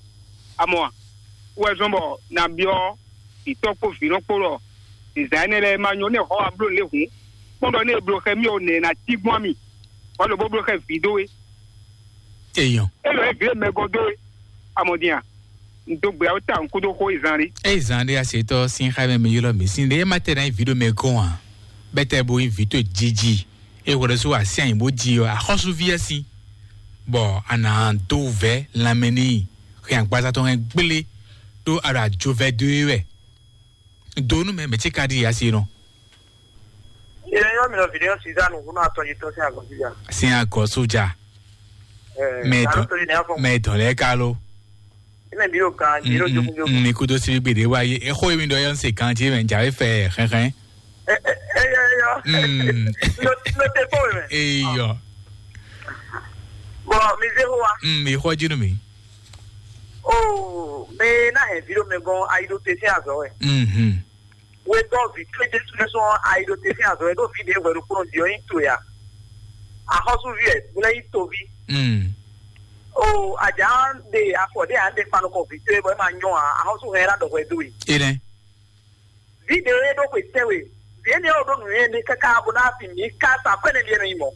Amɔ a, wɛ zɔn bɔ na byɔ́ vǐtɔ́ kpó vǐ nɔ kpó ɖɔ zǐzán énɛ́ lɛ́ɛ ma nyɔ ne xɔ wa bló lě hǔn kpɔ́n ɖɔ ne e bló xɛ mì ɔ nɛ na cí gbɔn mì, wà lɔ bó bló xɛ vǐ dó we. Eyɔn. Elɔ e vǐ e mɛ gɔ́ dó we. Amɔdin a? N dó gbe awo ta n kúdó xó e zan ɖé. Eye zan ɖé asetɔ sin xa mɛ mi ylɔ mi sin ɖé ma tɛ na yi vi ɖo mɛ gɔn a? Bɛtɛ bo yi vi to jiji. E wɔ ɖe so asi anyi bo ji ɔ axɔsu vi asi. Bɔ a nǎ dó vɛ̌ lanmɛ n'i, hɛn agbaza tɔn hɛn gblé, ɖó a ɖo ajo vɛ́ dó é wɛ. Do nú mɛ, mɛ ce ka ɖi asi nɔ. Ilé yɔ mi nɔ vidéo Suzanne, ŋun atɔ yi tɔ sin agɔn Suzanne. Sin agɔ soja. Eh, mɛ dɔn, mɛ dɔn lɛ ka lo. Ina bi o kan, bi o jogun jogun. Mi kudo si gbede wa ye, e xo mi dɔ yɔ se kan ti mɛ ja fɛ xɛxɛ. Eh, eh, eh, yɔ, yɔ. Mm. No, no te ko mɛ. Eyɔ. Bon, mi ze ho wa. Mm, mi xɔ jinu mi. Oh, me na he vidéo me gon ayi do te sin azɔ wɛ. Mhm. We dɔ vi kle Jesu ne sɔn ayi do te sin azɔ wɛ do vi de wɛ do kplɔn di ɔ yin to ya. Axɔsu vi ɛ, buna yin to vi. Mm. O aja de afɔ de an de kpanu kɔ vi to e bɔ e ma nyɔ a, axɔsu hɛn la dɔ hwɛ do yi. Ene. Vi de e do hwe tɛ we. Vi ene o do nu ene kaka bo na fi mi ka sa kwɛ ne li ene yi mɔ.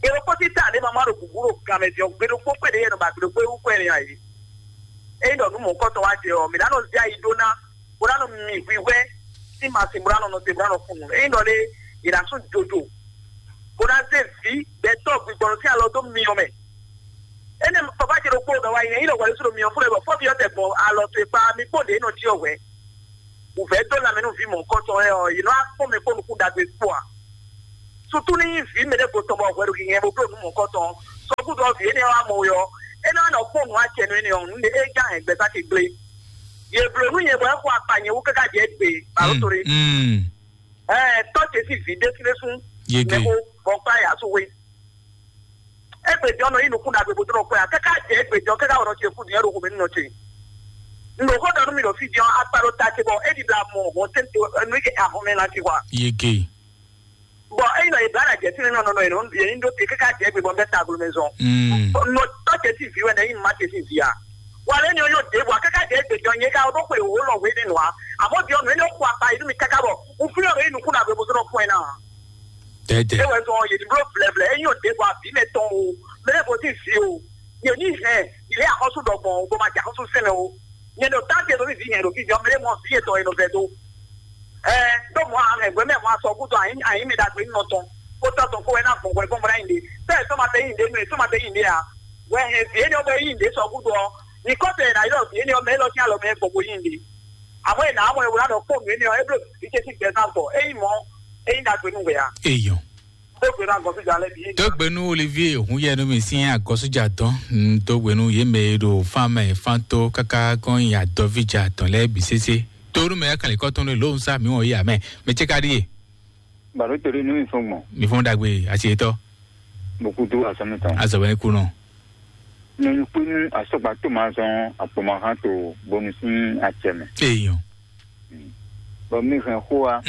E do kpɔti ta de mama do bubu do gamɛ di ɔ gbe do kpɔ kwɛ de yɛ no ba gbe do kpɔ ewu kwɛ ne ayi. Eyin ɖɔ nú mɔ̌hunkɔtɔn wá jɛ ɔ́, mǐ ná nɔ zé ayi ɖó ná, bó ná nɔ mi hwihwɛ́ sín masin bó ná nɔ nɔ te bó ná nɔ fun nǔ. Eyin ɖɔ lé, è nǎ sú jojo, bó ná zé vǐ gbɛtɔ́ gbigbɔnɔ sín alɔ dó myɔ mɛ. Énɛ́ papa ce ɖokpó ɖɔ wá yi, eyin ɖɔ hwɛɖésú ɖo myɔ fún ɛ bɔ fɔ́fi ɔ́ tɛ gbɔn alɔ towe kpá, mi kpó ɖě nɔ jí ɔ́ hwɛ̌. Wǔvɛ́ dó lanmɛ nú vǐ mɔ̌hunkɔtɔn lɛ́ɛ ɔ́, yě nɔ wá kpɔ́n mɛ kpó nukún ɖagbe kpó ǎ. Sutu ní nyí vǐ mɛɖé ko tɔn bɔ hwɛ ɖo gǐgɛ́n bó bló nǔ mɔ̌hunkɔtɔn ɔ́, sɔgúdɔ ɔ́ vǐ énɛ́ wá mɔ we ɔ́, é ná nɔ kpɔ́n nǔ acɛ nú énɛ́ ɔ́, nǔɖé é já hɛn gbɛzán ce gblé. Yě bló nú nyɛ bɔ é xo akpa nyɛ wú káká jɛ gbé, bǎló to ɖé. Ɛɛ, tɔ́ ce sín vǐ ɖésúɖésú Yege. Nɛxó bɔ kpá yǎ sú hwe. Égbè jɔ nɔ yí nukún ɖagbe bó dó nɔ kpɛ ǎ, káká jɛ égbè jɔ káká wɔ nɔ ce fú din, é ɖo xomɛ nú nɔ ce. Un ɖo xó ɖɔ nú mi ɖo fí din ɔ́, akpa ɖo ta ce bɔ é ɖi ɖo amɔ hɔn tɛ́ntin nú é kɛ ahɔn mɛ ná ci hwa. Yege. Bɔ eyi nɔ Ibrahim jɛ fínɛ́ nɔ nɔ yě nɔ yě ní ɖó te káká jɛ gbe bɔ bɛ tagblo mɛ zɔn. Mm. Nɔ tɔ cɛ ti vi wɛ nɛ yi ma cɛ ti vi a. Wa lɛ ni yɔ de bɔ káká jɛ gbe jɔ nyɛ ka o ɖo xwe wo lɔ we ne nɔ a. Amɔ bi ɔnu ne xɔ akpa yi mi káká bɔ. Un fi ɔnu yi nukun na gbe bozɔnɔ fún ɛ na. Tɛtɛ. E wɛ zɔn yɛ di blo blɛblɛ e nyɔ de bɔ abi mɛ tɔn o. Mɛ ne bo ti vi o. Yɛ ni hɛn ilé akɔsu dɔ gbɔn o bɔ ma jɛ akɔsu sɛnɛ o. Nyɛ ɖo tante ɖo vivi nyɛ ɖo vivi ɔmɛ ɖe mɔ vi etɔn yɛ nɔ vɛ do. Ɛ ɖo mɔ ahɛn gbɛ mɛ mɔ asɔ gúdo ayi ayi mi ɖagbe nɔ tɔn. Kó tɔ tɔn kó wɛ ná gbɔn gbɛ gbɔn bɔ ná yin de. Sɛ sɔ ma tɛ yin de nu sɔ ma tɛ yin de a. Wɛ hɛn vi enɛ bɛ yin de sɔ gúdo ɔ. Ni kɔ tɛ na yɔ vi enɛ mɛ lɔ tiɲɛ lɔ mɛ gbɔ bo yin de. Amɔ ena amɔ ewu la dɔ kpɔ nu enɛ ɔ eblo vi ce si gbɛ zan gbɔ eyi mɔ eyi ɖagbe nu wɛ a. Eyɔn. Dógbe nú agɔsújà lɛ́ɛ bǐ. Dógbe nú Olivier Hunyɛnumi sín agɔsújà tɔn. Dógbe nú yě mɛ e ɖo fán mɛ fán tó káká kɔn nyi adɔvíjà tɔn lɛ́ɛ bǐ sésé. Tónú mɛ kanlin kɔtɔn ló ń sá mi wọ̀nyí àmẹ́. Mɛ cɛ ka ɖíe. Bàbá torí inú mi fún gbọ̀n. Mi fún dagbe àti ètò. Mo kú tó àsán mi tán. Azɔ̀wẹ́ kú nù. Nínú pé ní asɔgba tó máa zɔn àpòmọ̀hán tó bónú sí àtsẹ̀mẹ̀. Èèyàn. Bɔn mi hɛn xó wa.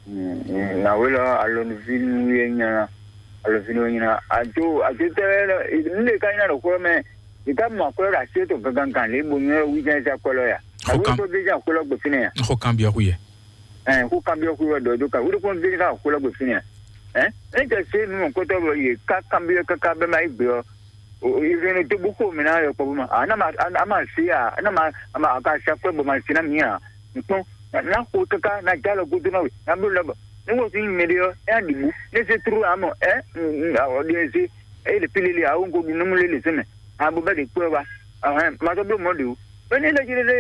Nàwé lɔ alɔnuví nú yé nyina alɔnuví nú yé nyina adzo adzo tɛ lɛ nu ɖe ka nyina ɖo xó mɛ. Ìka mɔ akwɛ́ ɖo así tó gangan lě bo nyɔ́ wí jɛ́n sá kɔ́ lɔ ya. Xó kan. Akwɛ́ tó dé jɛ́n akwɛ́ lɔ gbe fínɛ́ ya. Xó kan byɔ́ xú yɛ. Ɛ xó kan byɔ́ xú wɛ ɖɔ dó ka wúɖú kɔn dé jɛ́n akwɛ́ lɔ gbe fínɛ́ ya. Ɛ ɛ jɛ se nu mɔ kótó bɔ yě ká kan byɔ́ káká bɛ́ ma yí gbe ɔ́. Ìrìn tó bú xó mi ná yɔ kpɔ́ bó ma. A ná ma a má sí a a ná ma a má a ka sí akwɛ́ bɔ ma sí ná mi a. Nukpɔn na xo kaka na ja lɔ godo na we na blo lɔ bɔ ne wo sin mɛ de ɔ ɛ di bu ne se tru amɔ ɛ ɔ de se ɛ le pile le awo nko du nomu le le sɛmɛ abo bɛ de kpɛ wa ɔhɛn ma tɔ blo mɔ de o bɛ ne lɛ jire de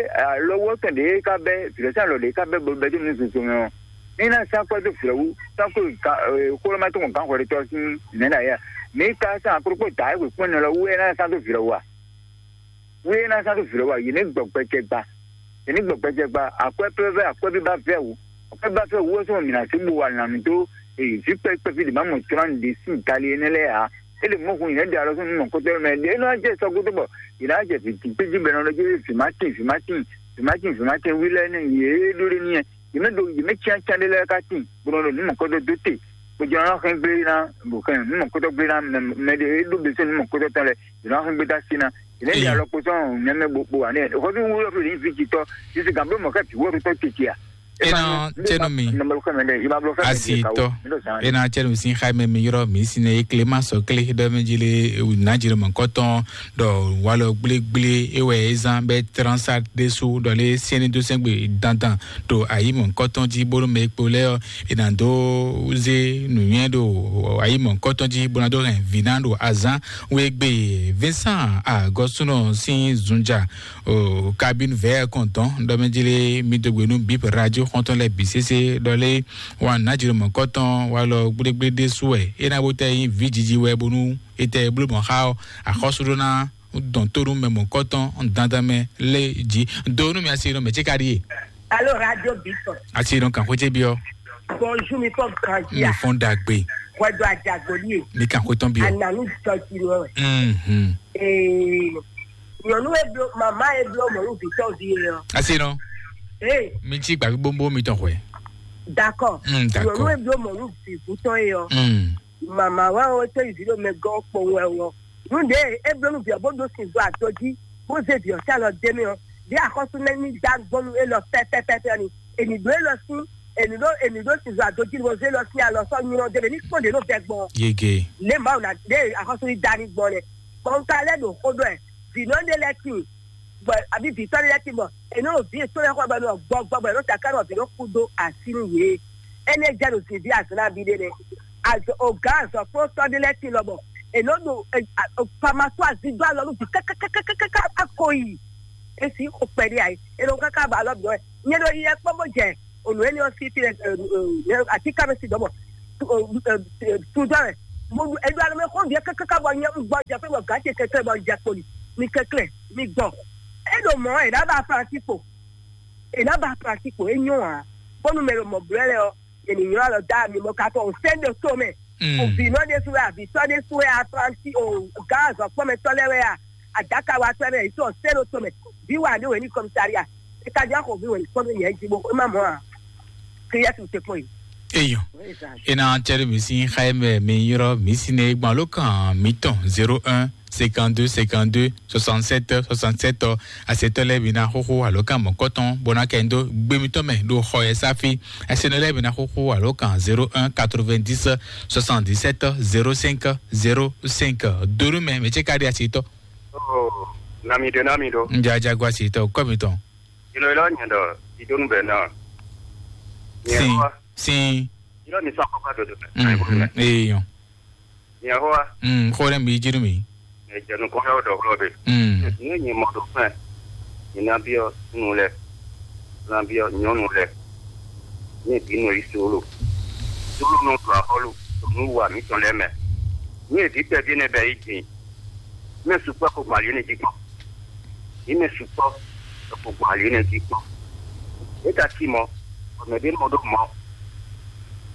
lɔ wɔ tɔn de ka bɛ virɛ sa lɔ de ka bɛ bɔ bɛ de nu zozo mɛ ɔ ne na sa kpɛ do virɛ wu sa ko ka xolɔ ma tɔn kan xɔ de tɔ sin mɛ na ya mi ka sa akoro kpɔ da ɛ ko kpɛ nɔ lɔ wu ɛ na sa do virɛ wa. Wíyé ná sá tó vǐ lɔ wá, yě ní gbɔ gbɛjɛ gba. Yě ní gbɔ gbɛjɛ gba, akwɛ́ pɛ́ vɛ́ akwɛ́ bí ba vɛ́ wǔ. Akwɛ́ bí ba vɛ́ wǔ wɛ sɔ́ mǐ ná sí bo wa nǎ mì dó vǐ kpɛ́kpɛ́ fí ɖě má mɔ tlán ɖě sín gali énɛ́ lɛ́ɛ ǎ. É lě mɔ̌ hun yě nɛ́ ɖe alɔ sɔ́ nú mɔ̌kútɔ́ mɛ ɖě é nɔ jɛ sɔ́ gúdo bɔ yě ná jɛ vǐ dín gbéjí bɔ é nɔ ɖɔ jí vǐ má tín, vǐ má tín, vǐ má tín, vǐ má tín wí lɛ́ɛ nɛ́ yě ɖó ɖé n'i yɛ. Yě mɛ ɖo yě mɛ cyáncyán ɖé lɛ́ɛ ka tín, bó nɔ ɖo nǔ mɔ̌kútɔ́ dó te. Bó jɛ nɔ hɛn gblé ná, bó hɛn nǔ mɔ̌kútɔ́ gblé ná mɛ mɛ ɖé é ɖó bɛsɛ nǔ mɔ̌kútɔ́ tɔn lɛ, yě nɔ hɛn gbé dó así ná. Yě nɛ ɖi alɔ kpo sɔn nɛmɛ bó bó wà nɛ. Hɔví wúlò fún yìí fi jitɔ, yìí sì gàn bló mɔ̌ ká bǐ wó ɖo tɔ́ tete à. Ena cɛnu mi. Asi tɔ. Ena cɛnu sin xa mɛ mi yɔrɔ mi sin ne klema sɔkle dɔ mi jile na jile mɔ kɔtɔn dɔ walɔ gble gble ewɛ ezan bɛ transa desu dɔ le sɛni do sɛgbe dandan to ayi mɔ kɔtɔn ji bolo mɛ kpo lɛ ɔ ena do ze nuyɛ do ayi mɔ kɔtɔn ji bona do hɛn vina do azan wegbe Vincent Agɔsunɔ sin zunja o cabine vɛ kɔntɔn dɔ mi jile mi do gbe nu bip radio xɔntɔn lɛ bi sese dɔ le wa na jilo mɔ kɔtɔn wa lɔ gblégblé ɖé su wɛ é ná bó tɛ nyí vǐ jiji wɛ bónú é tɛ bló mɔ xá ɔ axɔ́sú ɖó ná dɔn tó nú mɛ mɔ kɔtɔn dandan mɛ lé jí do nú mi asi nɔ mɛ tsi ka ɖi é. Alo radio bitɔ. Asi nɔ kan xwétsé biɔ. Bonjour mi fɔ mi grandia. Fɔn dagbe. Wɛdo ajagoli ye. Mi kan xwétɔn biɔ. Ananu jɔji nɔ wɛ. Mhm. Ee. Nyɔnu e blo mama e blo mɔnu vitɔ vi ye ɔ. Asi nɔ. Ee. Mi tsi gbavi bombo mi tɔn xwɛ. Dakɔ. Mm, dakɔ. Nyɔnu e blo mɔnu vi vutɔ ye ɔ. Mm. Mama wa o to yi vi ɖo mɛ gɔ kpɔn wɛ wɔ. Nu ɖe e blo nu vi ɔ bó ɖo sin do ato jí bó zé vi ɔ sí alɔ dé mɛ ɔ. Ɖe axɔ́sú nɛ ní dá gbɔnu e lɔ pɛpɛpɛpɛ ni. Ènì ɖó e lɔ sí ènì ɖó ènì ɖó sin do ato jí ni bó zé lɔ sí alɔ sɔ nyrɔ dé mɛ ní kpɔn ɖe nɔ vɛ gbɔn. Yege. Ne Mawu na ɖe axɔ́sú ní dá ní gbɔn nɛ. Bɔn ka lɛ ɖo xó ɖɔ ɛ. Vǐnɔ ɖé lɛ́ɛ tíin, bɔ abǐ vǐtɔ́ ɖé lɛ́ɛ tíin, bɔ è nɔ ɖo vǐ yětɔn lɛ́ɛ xɔ bɔ è nɔ gbɔ gbɔ bɔ è nɔ ta ká nɔ bǐ nɔ kú dó así nú yě. Énɛ́ jɛ ɖo zǐnví azɔ̌ nabí ɖé nɛ́. Azɔ ògǎn azɔ̌kplɔ́ntɔ́ ɖé lɛ́ɛ tíin lɔbɔ è nɔ ɖo famasó azídó alɔ nú vǐ kákákákáká ko yi. É sí xo kpɛɖé ayé. È nɔ káká ba alɔ bǐ wɛ. Nyɛ ɖo yi yɛ kpɔ́n bó jɛ ònú énɛ́ ɔ́ sí fí lɛ atíká mɛ sí dɔ̌ mɔ tudɔ wɛ. Mo ɖu eɖo alɔ mɛ xɔ viɛ kɛkɛkɛ bɔ nyɛ un gbɔ jɛ fɛ bɔ gã ce kɛkɛ bɔ jɛ kpoli mi kɛklɛ mi gbɔ. E ɖo mɔ e ɖa ba franci kpo e ɖa ba franci kpo e nyɔ a bɔnu mɛ ɖo mɔ blɛ lɛ ɔ. Yɛ ni nyɔ alɔ da mi mɔ katɔ o sɛn ɖo to mɛ. O vi nɔ ɖe su wɛ a vi tɔ ɖe su wɛ a franci o gã azɔkpɔmɛtɔ lɛ wɛ a adaka wa tɔ lɛ yi tɔ sɛn ɖo to mɛ. Vi wa ɖe wɛ ni kɔmisaria e ka jɔ axɔ vi wɛ ni kɔmi yɛ ji bo e ma mɔ a. Kiyɛtu te kpɔn yi. Eyo. Ena cɛɖe mi sin xa mɛ mi yrɔ mi sin ne gbɔn alo kan mi tɔn zéro un cinquante-deux cinquante-deux soixante-sept soixante-sept ɔ asetɔ lɛ mi na xoxo alo kan mɔ kɔtɔn bona kɛ ndo gbe mi tɔ mɛ do xɔ yɛ safi asenɔ lɛ mi na xoxo alo kan zéro un quatre-vingt-dix soixante-dix-sept zéro cinq zéro cinq donu mɛ mɛ tse ka di asetɔ. Oh, nami do nami do. Njajago asetɔ kɔ mi tɔn. Ilo ilo nyɛ dɔ idonu bɛ na. Sin sin. Ilo mi sɔ akɔkɔ dodo. Mhm. Eyan. Yehowa. Mm, xó ɖé mi jí nú mi. Ejɛ nukɔn yɔ ɖɔ xlɔ be. Mm. Ní nyi mɔ ɖo fɛn. Ní ná biɔ nunu lɛ. Ná biɔ nyɔnu lɛ. Ní ebi nɔ yi solo. Solo nɔ ɖo axɔlu. Ɖo nu wa mi tɔn lɛ mɛ. Ní ebi tɛ bi ne bɛ yi din. Mɛ sukpɔ ko gbali ne jí kpɔn. Ní mɛ sukpɔ ko gbali ne jí kpɔn. E ka ti mɔ. Ɔmɛ bi mɔ ɖo mɔ.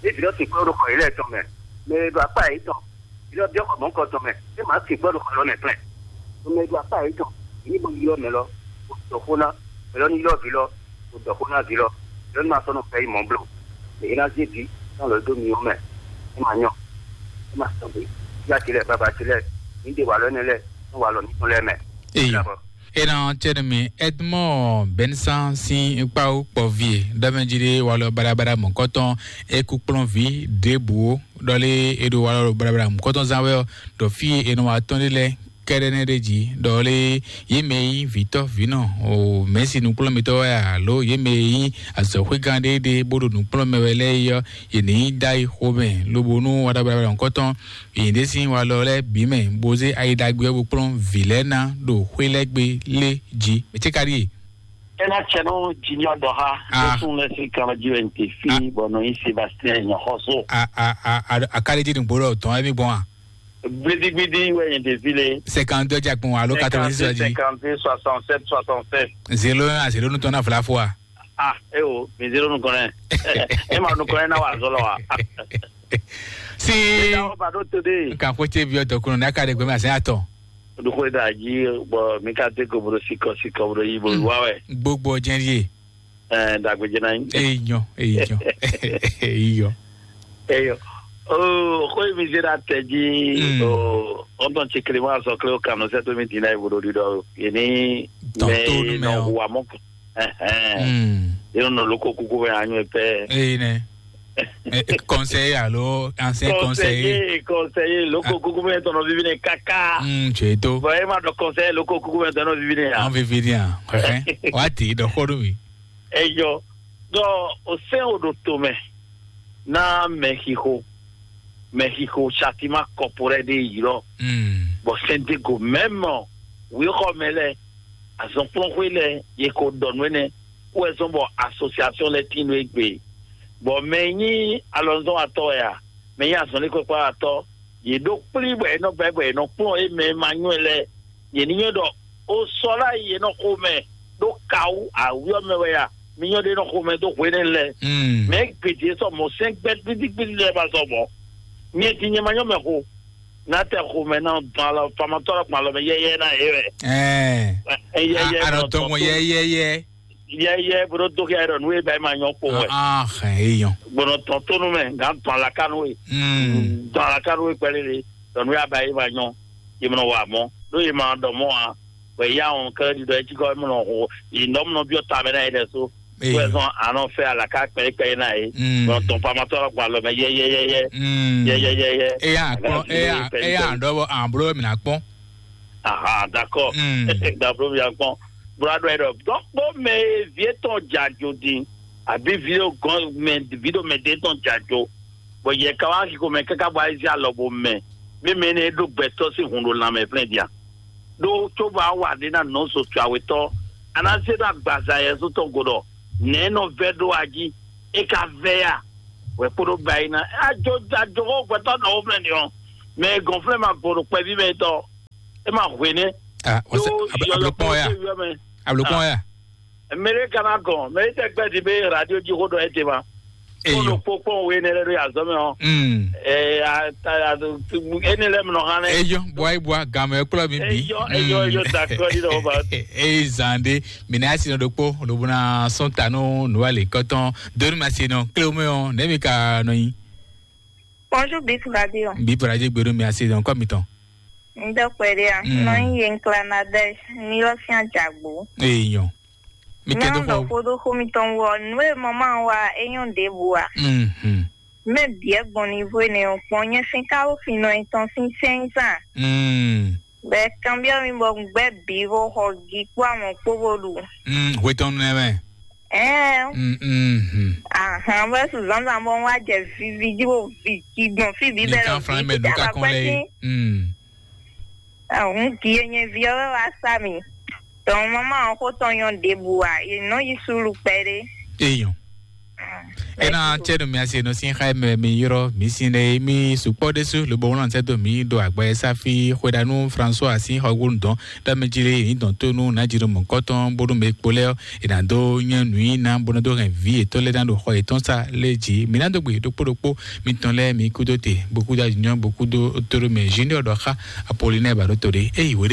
Ebi dɔ sukpɔ ɖo xɔ yi lɛ tɔn mɛ. Mɛ e ɖo akpa yětɔn, yi lɔ byɔ́ xɔ mɔ̌hunkɔtɔn mɛ, é mǎ sin gbɔ́ ɖo xɔ lɔ mɛ klɛ́n. Mɛ e ɖo akpa yětɔn, ní bo ylɔ́ mɛ lɔ, bó dɔ xó ná, mɛ lɔ ní ylɔ́ vǐ lɔ, bó dɔ xó ná vǐ lɔ, mɛ lɔ ní ma sɔ́ nɔ fɛ yi mɔ̌ bló. Mɛ é ná zé vǐ ná lɔ dó myɔ mɛ, é ma nyɔ, é ma sɔgbe. Yá ce lɛ́ɛ, baba ce lɛ́ɛ, ní ɖe walɔ énɛ́ lɛ́ɛ, ní walɔ mǐtɔn lɛ́ɛ mɛ. Eyi. Dabɔ. Ena cɛnɛ mi Edmond Bensan sin kpawo kpɔvi ɖɔmɛjiri walɔ barabara mɔkɔtɔn ekukplɔnvi ɖěbǔ ɖɔlé eɖo walɔ barabara mɔkɔtɔn zan wɛ ɔ ɖɔ fí e nɔ wa tɔn ɖe lɛ kɛɖɛ nɛ ɖe jí ɖɔlé yé mɛ yí vǐtɔ vǐnɔ o mɛsi nukplɔnmitɔ wɛ alo yé mɛ yí azɔxwégán ɖé ɖé bó ɖo nukplɔn mɛ wɛ lɛ yi ɔ yě ní dá yi xomɛ lobo nú walɔ barabara mɔkɔtɔn Yě ɖe sín walɔ lɛ́ɛ bǐ mɛ, bó zé ayi ɖagbe ɔ́ bó kplɔ́n vǐ lɛ́ɛ ná ɖo xwé lɛ́ɛ gbe lé jí. Mɛ ce ka ɖíe? Ena cɛnu junior dɔha Ah. Lɛsùn lɛ sí kan jí wɛ n te fi Ah. Bɔ nɔ nyi Sébastien nyɔxɔso. A a a a a ka ɖe jí nugbo ɖɔ tɔn ɛmí gbɔn a? Gbidigbidi wɛ n te fi le. Cinquante-deux jakun alo quatre-vingt-six ɔ jí. Cinquante-deux, soixante-sept, soixante-sept. Zéro un à zéro nutɔn na fla fo a? Ah, e o, mi zéro nukɔn nɛ. E ma nukɔn nɛ na wa zɔlɔ wa. Si. Eda o ba do to de. Nka ko tse bi ɔtɔ kunu n'a ka ɖe gbɛmɛ asɛn atɔ. Ɖokɔ da dzi bɔ mi ka te ko bro sikɔ sikɔ bro yi bro wa wɛ. Gbogbo jɛn ye. Ɛɛ dagbe jɛn na yi. Eyi nyɔ eyi nyɔ eyi yɔ. Eyo. Oo, ko mi zera tɛ dzi. Mm. Oo, ɔntɔn tsi kele ma sɔ kle o kanu sɛ to mi di na yi bro di dɔ. Yeni. Tɔn mɛ to nu mɛ nɔ o. Wa mɔ. Ɛhɛn. Mm. Yɛn nɔ loko kuku mɛ anyɔ pɛ. Eyi nɛ. Kɔnsɛyi alo ancien kɔnsɛyi. Kɔnsɛyi, kɔnsɛyi, loko kuku mɛ tɔnɔ vivi nɛ kaka. Mm, tso eto. Bɔn e ma dɔ kɔnsɛyi loko kuku mɛ tɔnɔ vivi nɛ ya. An vivi ni a. Wa ti dɔ xo do mi. Eyɔ, dɔ o sɛn o ɖo to mɛ na mɛ xixo, mɛ xixo satima kɔporɛ ɖe yi lɔ. Mm. Bɔ sɛn de go mɛmɔ wixɔ mɛ lɛ, azɔnkplɔnxwe lɛ ye ko dɔ nú ɛnɛ, wɛ zɔn bɔ association lɛ tin nú egbe. Bɔ mɛ nyi alɔnzɔn atɔ ya, mɛ nyi azɔnlikpɛkpɛ atɔ, ye ɖo kplí bɔ ye nɔ gbɛ bɔ ye nɔ kplɔn ye mɛ ma nywɛ lɛ, ye ní nywɛ ɖɔ o sɔ la ye nɔ xo mɛ ɖo kawu awuyɔ mɛ wɛ ya, mi nyɔ ɖe nɔ xo mɛ dó hwenɛ lɛ. Mm. Mɛ gbèdé sɔ mɔ sɛn gbɛ gbidi gbidi lɛ ba sɔ mɔ. Nyɛ ti nyɛ ma nyɔ mɛ xo. Na tɛ xo mɛ na dɔn alɔ famatɔ la kpɔn alɔ mɛ yɛyɛ na ye wɛ. Ɛɛ. Yɛyɛ. Anɔ tɔn mɔ yɛyɛyɛ. Yɛyɛ bro dó kɛ ɖɔ nú e ba ma nyɔ kpo wɛ. Ah, hɛn e yɔn. Gbɔnɔ tɔn tónú mɛ gan tɔn alaka nú e. Mm. Tɔn alaka nú e kpɛlɛ le. Ɖɔ nú ya ba e ma nyɔ. Ye mɔ wa mɔ. Ɖó ye ma dɔ mɔ a. Wɛ ya wɔn kɛ ɖi dɔ etsi kɔ mɔ nɔ xo. Yi nɔ mɔ biɔ ta mɛ na ye ɖɛ so. Wɛ zɔn anɔ fɛ alaka kpɛ kpɛ na ye. Mm. Gbɔnɔ tɔn famatɔ la kpɔn alɔ mɛ yɛyɛyɛ. Mm. Yɛyɛyɛ. Eya kpɔn, eya eya dɔ bɔ an blo mi na kpɔn. Aha, d'accord. Mm. D'accord, bien kpɔn. Bro, aɖɔ yɛ ɖɔ dɔkpɔ mɛ e vi etɔn dza jo din, abi vi ɖo gɔn mɛ, vi ɖo mɛ de tɔn dza jo, bɔ yɛ ka wá xixo mɛ káká bɔ ayi alɔ bo mɛ, mi mɛ ne ɖo gbɛtɔ sín hun ɖo lanmɛ flɛn dia. Ɖó tso bɔ awa ɖe na nɔ so tso awetɔ, ana se ɖo agbaza yɛ so tɔn go ɖɔ nɛ nɔ vɛ ɖo aji, e ka vɛ ya, wɛ kpo ɖo ba yi na ajo ajo xɔ gbɛtɔ nɔ wo flɛn ni ɔ, mɛ gɔn flɛn ma gbɔ ɖo kpɛvi mɛ tɔ. E ma hwe nɛ. Ah, what's Yo, up? Ablo-, yo, ablo yo, kpɔn ya. Yo, yo, man. Ablo kpɔn ya. Mele kana gɔn, mele tɛ gbɛ di be radio ji ko dɔ ete ma. Eyo. Ko kpɔn we ne le do ya zɔmɛ o. Mm. Eh, a, a, a, ene le mno hane. Eyo, boy, boy, game kula mi bi. Eyo, eyo, eyo, d'accord, di do ba. Eh, zande, mina sino dokpo, lobuna sontano, nuale koton, donu masino, kleo me on, nemi ka no yi. Bonjour, Bip Radio. Bip Radio gbèrú mi àti ìdán kọ́ mi tán. Ń dọ́pẹ́ dé à. Mm. Nọ ń yẹ ń kla na dẹ́ ní lọ́sìn àjàgbó. Èèyàn. Mi kẹ́ tó Nyɔnu kọ́. Ɖɔkpó ɖo xó mitɔn wɔ nú e mama wa é nyɔ́ ɖěbǔ a. Mhm. Mɛ biɛ gbɔn ní vo ne o kpɔn nyɛ sín káwó finɔ etɔn sín sɛnzan. Mm. Bɛ kanbyɔ mi bɔ gbɛ bí vo xɔ gi kpó àwọn kpó vo ɖu. Mm, hwetɔn nɛ mɛ. Ɛɛ. Mm, mm, mm. Ahan, bɛ su zanzan bɔ wa jɛ vivi ji bo vi ji gbɔn fi bi bɛ Nìkan fúnra mɛ dùn ká kán lɛ. Mm. Àwọn kì í yẹn vi ɔwɛ wa sa mi. Tɔn mama ɔkó tɔn yɔn ɖěbǔ wa, yě nɔ yi sulu kpɛɖé. Eyɔn. Ena tsɛnu mi ase no sin xa mɛ mi yɔrɔ mi sin ɖe mi sukpɔ ɖesu lobo wɔn sɛ do mi do agbɛ safi xwedanu François asi xɔgbonu dɔn dame jire yi dɔn tonu na jiro mɔ kɔtɔn bodo me kpolɛ ɔ ena do nyɛ nui na bodo do hɛn vi etɔ lɛ na do xɔ etɔn sa le ji mi na do gbe ɖokpo ɖokpo mi tɔn lɛ mi kudo te bokudo ajunyɔ bokudo toro mɛ junior dɔ xa Apollinaire ba do to ɖe eyi wo ɖe